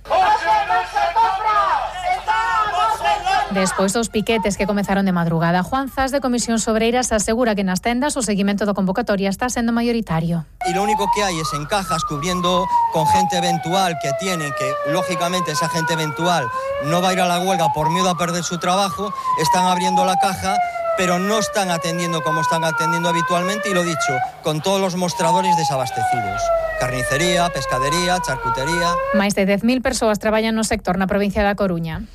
Despois dos piquetes que comezaron de madrugada, Juan Zas, de Comisións Obreiras, asegura que nas tendas o seguimento da convocatoria está sendo mayoritario. Y lo único que hay es en cajas cubriendo con gente eventual que tienen, que lógicamente esa gente eventual no va a ir a la huelga por miedo a perder su trabajo, están abriendo la caja, pero no están atendiendo como están atendiendo habitualmente, y lo dicho, con todos los mostradores desabastecidos. Carnicería, pescadería, charcutería... Máis de dez mil persoas traballan no sector na provincia da Coruña.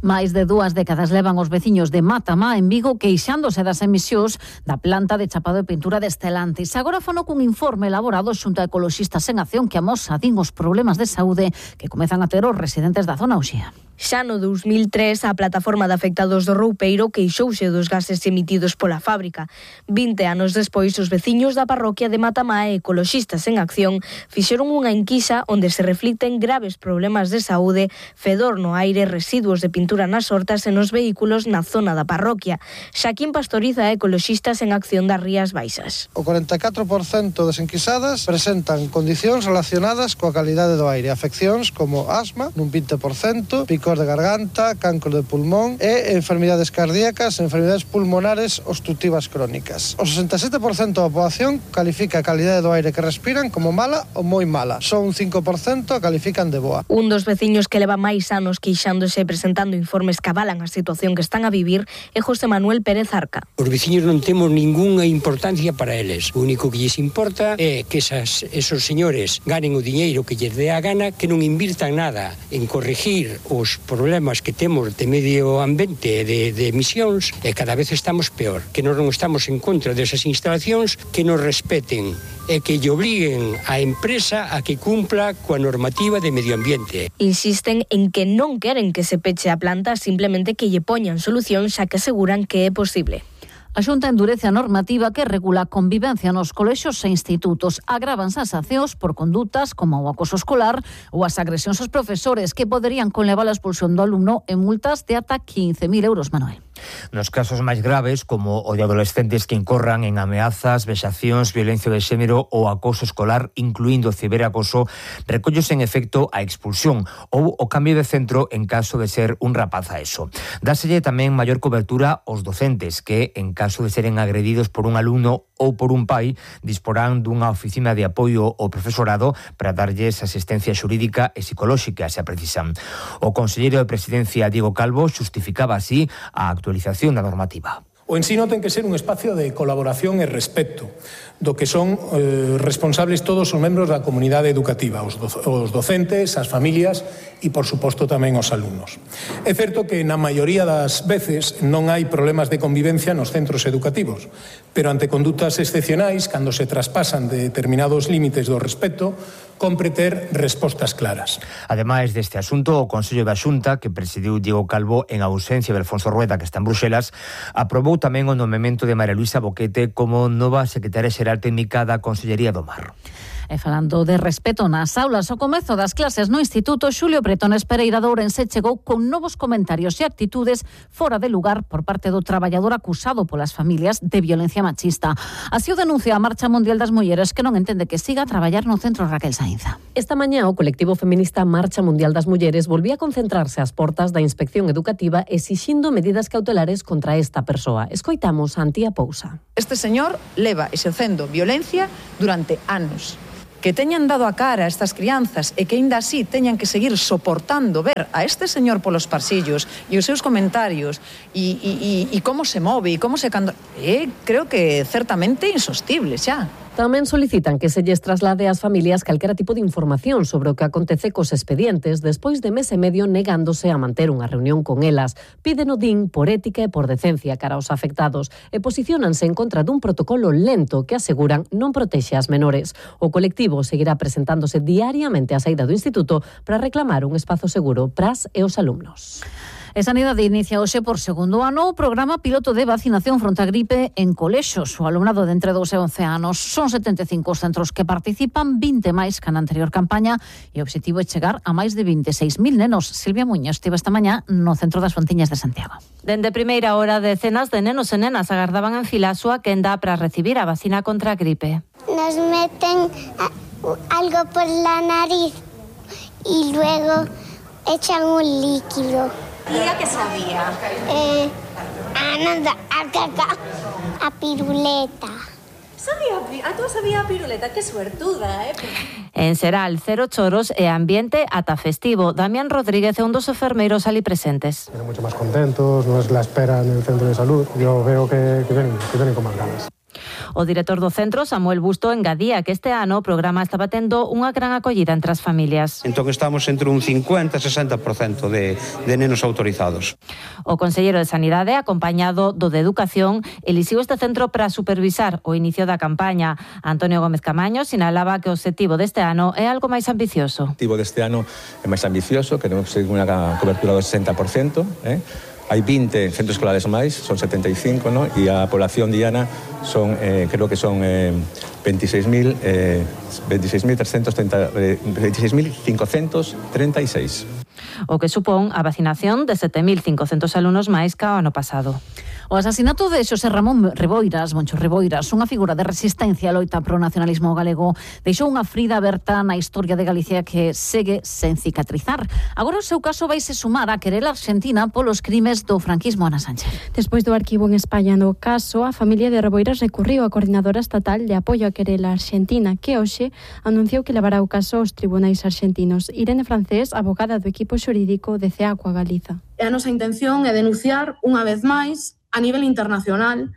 Máis de dúas décadas levan os veciños de Matamá, en Vigo, queixándose das emisións da planta de chapado e pintura de Estelantis. Agora fono cun informe elaborado xunto a Ecoloxistas en Acción que amosa, din, os problemas de saúde que comezan a ter os residentes da zona Uxía. Xa no dos mil tres, a plataforma de afectados do Roupeiro queixouse dos gases emitidos pola fábrica. vinte anos despois, os veciños da parroquia de Matamá e Ecoloxistas en Acción fixeron unha enquisa onde se reflicten graves problemas de saúde, fedor no aire, residuos de pintura nas hortas e nos vehículos na zona da parroquia. Xaquín Pastoriza, Ecoloxistas en Acción das Rías Baixas. O cuarenta e catro por cento das enquisadas presentan condicións relacionadas coa calidade do aire, afeccións como asma, nun vinte por cento, picor de garganta, cancro de pulmón e enfermidades cardíacas e enfermidades pulmonares obstructivas crónicas. O sesenta e sete por cento da poboación califica a calidade do aire que respiran como mala ou moi mala. Só un cinco por cento a califican de boa. Un dos veciños que leva máis anos queixándose e presentando informes que avalan a situación que están a vivir é José Manuel Pérez Arca. Os veciños non temos ningunha importancia para eles. O único que lles importa é que esas, esos señores ganen o diñeiro que lles dé a gana, que non invirtan nada en corregir os problemas que temos de medio ambiente e de, de emisións, e cada vez estamos peor. Que nós non estamos en contra desas instalacións, que nos respeten e que lle obliguen a empresa a que cumpla coa normativa de medio ambiente. Insisten en que non queren que se peche a planta, simplemente que lle poñan solución, xa que aseguran que é posible. A Xunta endurece a normativa que regula a convivencia nos colexios e institutos. Agravanse as sancións por condutas como o acoso escolar ou as agresións aos profesores, que poderían conlevar a expulsión do alumno en multas de ata quince mil euros, Manuel. Nos casos máis graves, como o de adolescentes que incorran en ameazas, vexacións, violencia de xénero ou acoso escolar, incluindo ciberacoso, recollose en efecto a expulsión ou o cambio de centro en caso de ser un rapaz a eso. Dáselle tamén maior cobertura aos docentes que, en caso de seren agredidos por un alumno ou por un pai, disporán dunha oficina de apoio ao profesorado para darlles asistencia xurídica e psicolóxica, se a precisan. O conselleiro de Presidencia, Diego Calvo, xustificaba así a actualización da normativa. O ensino ten que ser un espacio de colaboración e respecto, do que son eh, responsables todos os membros da comunidade educativa, os, do, os docentes, as familias e, por suposto, tamén os alumnos. É certo que na maioría das veces non hai problemas de convivencia nos centros educativos, pero ante condutas excepcionais, cando se traspasan de determinados límites do respecto, compre ter respostas claras. Ademais deste asunto, o Consello da Xunta, que presidiu Diego Calvo en ausencia de Alfonso Rueda, que está en Bruxelas, aprobou tamén o nomemento de María Luisa Boquete como nova secretaria xeral técnica da Consellería do Mar. E falando de respeto nas aulas, o comezo das clases no Instituto Xulio Bretones Pereira de Ourense chegou con novos comentarios e actitudes fora de lugar por parte do traballador acusado polas familias de violencia machista. Así o denuncia a Marcha Mundial das Mulleres, que non entende que siga a traballar no centro Raquel Sainza. Esta mañá o colectivo feminista Marcha Mundial das Mulleres volvía a concentrarse ás portas da Inspección Educativa exixindo medidas cautelares contra esta persoa. Escoitamos a Antía Pousa. Este señor leva exercendo violencia durante anos. Que teñan dado a cara a estas crianzas e que aínda así teñan que seguir soportando ver a este señor polos pasillos e os seus comentarios e, e, e, e como se move e como se... Cando... Eh, creo que certamente insostible xa. Tamén solicitan que se lles traslade ás familias calquera tipo de información sobre o que acontece cos expedientes despois de mes e medio negándose a manter unha reunión con elas. Piden o D I N por ética e por decencia cara aos afectados e posiciónanse en contra dun protocolo lento que aseguran non protexe as menores. O colectivo seguirá presentándose diariamente á saída do instituto para reclamar un espazo seguro para as e os alumnos. E Sanidade inicia hoxe por segundo ano o programa piloto de vacinación fronte a gripe en colexos. O alumnado de entre dous e once anos son setenta e cinco os centros que participan, vinte máis que na anterior campaña, e o obxectivo é chegar a máis de vinte e seis mil nenos. Silvia Muñoz estive esta mañá no centro das Fontiñas de Santiago. Dende primeira hora, decenas de nenos e nenas agardaban en fila a súa quenda para recibir a vacina contra a gripe. Nos meten algo por la nariz y luego echan un líquido. ¿Y a qué sabía? Eh, a nada, a caca, a piruleta. Sabía, a tú sabía a piruleta, qué suertuda, eh? En Seral, cero choros e ambiente ata festivo. Damián Rodríguez é un dos enfermeiros ali presentes. Vienen mucho más contentos, no es la espera en el centro de salud. Yo veo que, que, vienen, que vienen con más ganas. O director do centro, Samuel Busto, engadía que este ano o programa estaba tendo unha gran acollida entre as familias. Entón estamos entre un cincuenta e sesenta por cento de, de nenos autorizados. O conselleiro de Sanidade, acompañado do de Educación, elixiu este centro para supervisar o inicio da campaña. Antonio Gómez Camaño sinalaba que o obxectivo deste ano é algo máis ambicioso. O objetivo deste ano é máis ambicioso, queremos conseguir unha cobertura do sesenta por cento, eh? Hai vinte centros escolares máis, son setenta e cinco, ¿no? E a población diana son, eh, creo que son eh, veintiséis mil cincocentos treinta e seis. O que supón a vacinación de sete mil cincocentos alumnos máis que o ano pasado. O asasinato de Xosé Ramón Reboiras, Moncho Reboiras, unha figura de resistencia a loita pro nacionalismo galego, deixou unha frida aberta na historia de Galicia que segue sen cicatrizar. Agora o seu caso vaise sumar a querela argentina polos crimes do franquismo. Ana Sánchez. Despois do arquivo en España no caso, a familia de Reboiras recurriu á Coordinadora Estatal de Apoio a Querela Argentina, que hoxe anunciou que levará o caso aos tribunais argentinos. Irene Francés, abogada do equipo xurídico de CEACUA Galiza. A nosa intención é denunciar unha vez máis a nivel internacional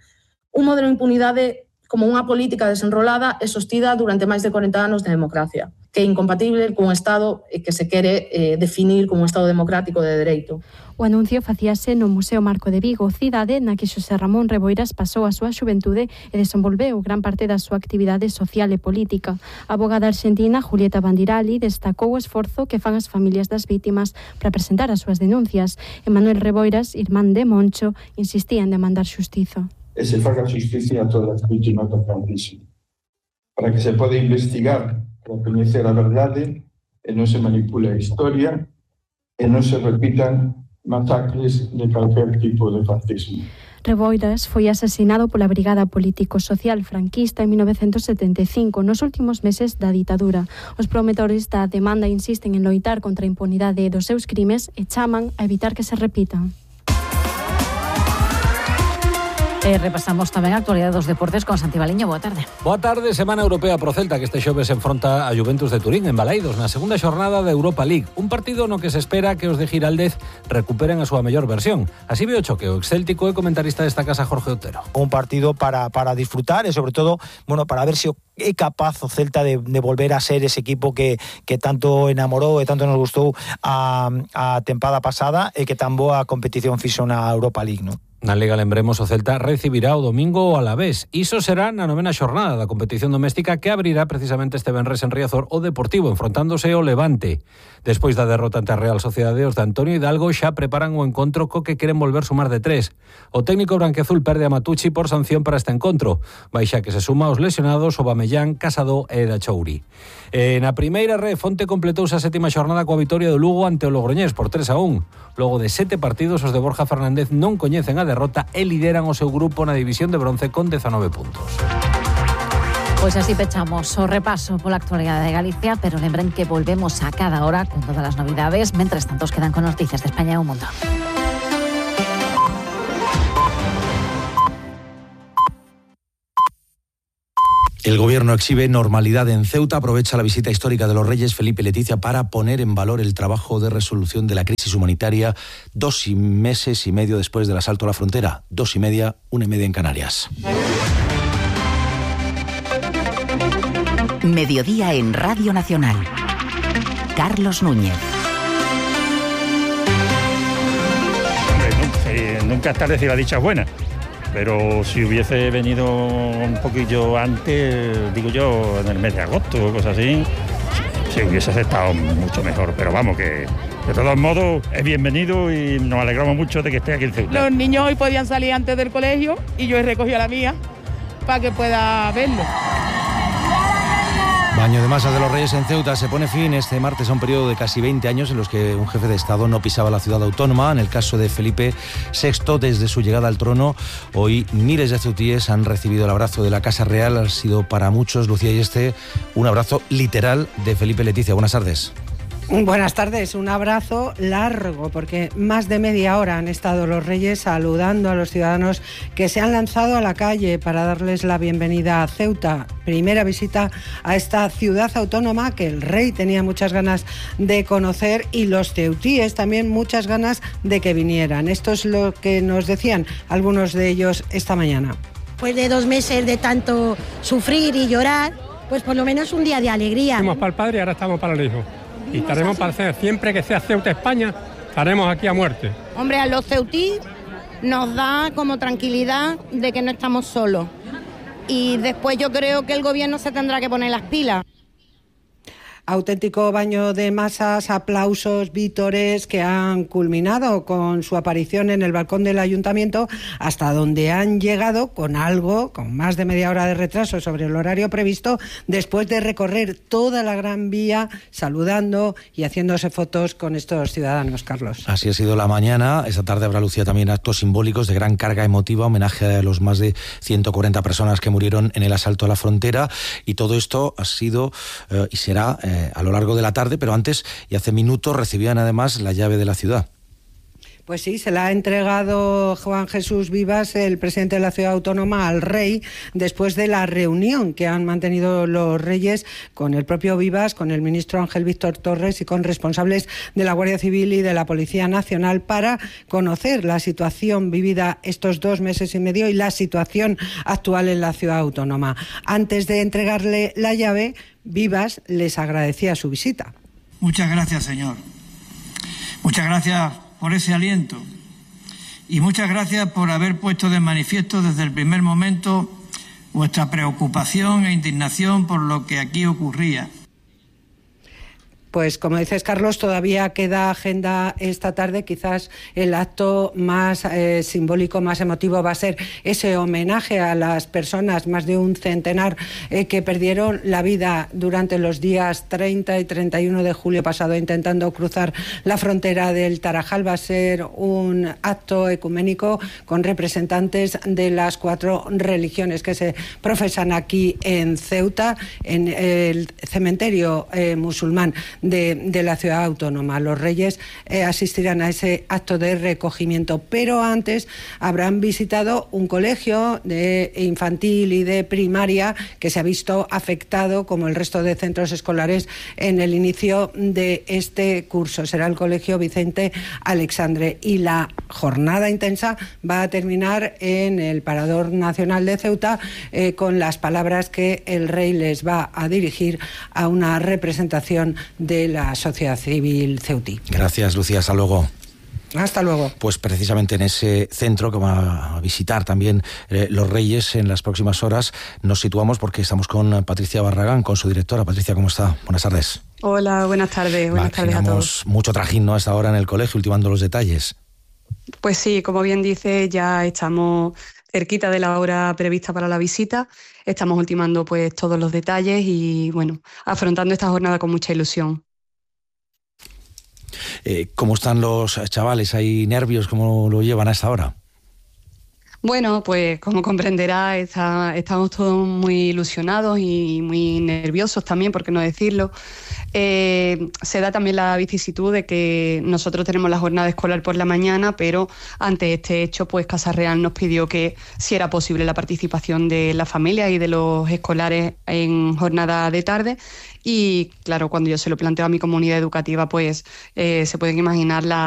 un modelo de impunidade como unha política desenrolada e sostida durante máis de corenta anos de democracia, que é incompatible cun Estado que se quere eh, definir como un Estado democrático de dereito. O anuncio facíase no Museo Marco de Vigo, cidade na que Xosé Ramón Reboiras pasou a súa xuventude e desenvolveu gran parte da súa actividade social e política. A abogada argentina Julieta Bandirali destacou o esforzo que fan as familias das vítimas para presentar as súas denuncias. E Manuel Reboiras, irmán de Moncho, insistía en demandar xustiza. E se faga justicia a todas as vítimas do franquismo, para que se poda investigar, para coñecer a verdade e non se manipule a historia e non se repitan masacres de calquer tipo de fascismo. Reboiras foi asesinado pola Brigada Político-Social franquista en mil novecentos setenta e cinco, nos últimos meses da ditadura. Os promotores da demanda insisten en loitar contra a impunidade dos seus crimes e chaman a evitar que se repitan. E repasamos tamén a actualidade dos deportes con Santi Baliño. Boa tarde. Boa tarde. Semana europea pro Celta, que este xoves enfronta a Juventus de Turín en Balaidos na segunda xornada da Europa League. Un partido no que se espera que os de Giraldez recuperen a súa mellor versión. Así ve o choque o excéltico e comentarista desta casa Jorge Otero. Un partido para, para disfrutar e sobre todo, bueno, para ver se é capaz o Celta de, de volver a ser ese equipo que, que tanto enamorou e tanto nos gustou a, a tempada pasada e que tan boa competición fixo na Europa League, non? Na Liga, lembremos, o Celta recibirá o domingo o Alavés. Iso será na novena xornada da competición doméstica que abrirá precisamente este venres en Riazor o Deportivo, enfrontándose ao Levante. Despois da derrota ante a Real Sociedade, os de Antonio Hidalgo xa preparan o encontro co que queren volver sumar de tres. O técnico branquiazul perde a Matucci por sanción para este encontro. Vai xa que se suma aos lesionados o Bamellán Mellán, Casadó e da Chouri. E na primeira ref, onte completouse a sétima xornada coa vitoria do Lugo ante o Logroñés por tres a un. Logo de sete partidos, os de Borja Fernández non coñecen a derrota e lideran o seu grupo na división de bronce con dezanove puntos. Pois así pechamos o repaso pola actualidade de Galicia, pero lembren que volvemos a cada hora con todas as novidades. Mentres tanto, quedan con noticias de España e o mundo. El Gobierno exhibe normalidad en Ceuta, aprovecha la visita histórica de los Reyes Felipe y Leticia para poner en valor el trabajo de resolución de la crisis humanitaria dos meses y medio después del asalto a la frontera. Dos y media, una y media en Canarias. Mediodía en Radio Nacional. Carlos Núñez. Hombre, nunca es tarde si la dicha es buena. Pero si hubiese venido un poquillo antes, digo yo, en el mes de agosto o cosas así, se hubiese estado mucho mejor. Pero vamos, que de todos modos es bienvenido y nos alegramos mucho de que esté aquí en Ceuta. Los niños hoy podían salir antes del colegio y yo he recogido a la mía para que pueda verlo. Baño de masas de los Reyes en Ceuta. Se pone fin este martes a un periodo de casi veinte años en los que un jefe de Estado no pisaba la ciudad autónoma. En el caso de Felipe sexto, desde su llegada al trono, hoy miles de ceutíes han recibido el abrazo de la Casa Real. Ha sido para muchos, Lucía y este, un abrazo literal de Felipe y Leticia. Buenas tardes. Buenas tardes, un abrazo largo porque más de media hora han estado los Reyes saludando a los ciudadanos que se han lanzado a la calle para darles la bienvenida a Ceuta. Primera visita a esta ciudad autónoma que el rey tenía muchas ganas de conocer y los ceutíes también muchas ganas de que vinieran. Esto es lo que nos decían algunos de ellos esta mañana. Pues de dos meses de tanto sufrir y llorar, pues por lo menos un día de alegría. Fuimos para el padre y ahora estamos para el hijo. Y estaremos para hacer, siempre que sea Ceuta, España, estaremos aquí a muerte. Hombre, a los ceutí nos da como tranquilidad de que no estamos solos. Y después yo creo que el gobierno se tendrá que poner las pilas. Auténtico baño de masas, aplausos, vítores que han culminado con su aparición en el balcón del ayuntamiento, hasta donde han llegado con algo, con más de media hora de retraso sobre el horario previsto, después de recorrer toda la Gran Vía saludando y haciéndose fotos con estos ciudadanos, Carlos. Así ha sido la mañana. Esta tarde habrá, Lucía, también actos simbólicos de gran carga emotiva, homenaje a los más de ciento cuarenta personas que murieron en el asalto a la frontera, y todo esto ha sido eh, y será eh, a lo largo de la tarde, pero antes y hace minutos recibían además la llave de la ciudad. Pues sí, se la ha entregado Juan Jesús Vivas, el presidente de la ciudad autónoma, al rey, después de la reunión que han mantenido los Reyes con el propio Vivas, con el ministro Ángel Víctor Torres y con responsables de la Guardia Civil y de la Policía Nacional para conocer la situación vivida estos dos meses y medio y la situación actual en la ciudad autónoma. Antes de entregarle la llave, Vivas les agradecía su visita. Muchas gracias, señor. Muchas gracias por ese aliento y muchas gracias por haber puesto de manifiesto desde el primer momento vuestra preocupación e indignación por lo que aquí ocurría. Pues como dices, Carlos, todavía queda agenda esta tarde. Quizás el acto más eh, simbólico, más emotivo va a ser ese homenaje a las personas, más de un centenar, eh, que perdieron la vida durante los días treinta y treinta y uno de julio pasado intentando cruzar la frontera del Tarajal. Va a ser un acto ecuménico con representantes de las cuatro religiones que se profesan aquí en Ceuta, en el cementerio eh, musulmán De, de la ciudad autónoma. Los Reyes eh, asistirán a ese acto de recogimiento, pero antes habrán visitado un colegio de infantil y de primaria que se ha visto afectado, como el resto de centros escolares, en el inicio de este curso. Será el Colegio Vicente Alexandre, y la jornada intensa va a terminar en el Parador Nacional de Ceuta eh, con las palabras que el rey les va a dirigir a una representación de la sociedad civil ceutí. Gracias, Lucía. Hasta luego. Hasta luego. Pues precisamente en ese centro que va a visitar también eh, los Reyes en las próximas horas nos situamos porque estamos con Patricia Barragán, con su directora. Patricia, ¿cómo está? Buenas tardes. Hola, buenas tardes. Buenas tardes a todos. Mucho trajín, ¿no?, hasta ahora en el colegio, ultimando los detalles. Pues sí, como bien dice, ya estamos cerquita de la hora prevista para la visita. Estamos ultimando pues todos los detalles y bueno, afrontando esta jornada con mucha ilusión. Eh, ¿Cómo están los chavales? ¿Hay nervios? ¿Cómo lo llevan a esta hora? Bueno, pues como comprenderá, está, estamos todos muy ilusionados y muy nerviosos también, por qué no decirlo. Eh, se da también la vicisitud de que nosotros tenemos la jornada escolar por la mañana, pero ante este hecho, pues Casa Real nos pidió que si era posible la participación de la familia y de los escolares en jornada de tarde. Y claro, cuando yo se lo planteo a mi comunidad educativa, pues eh, se pueden imaginar la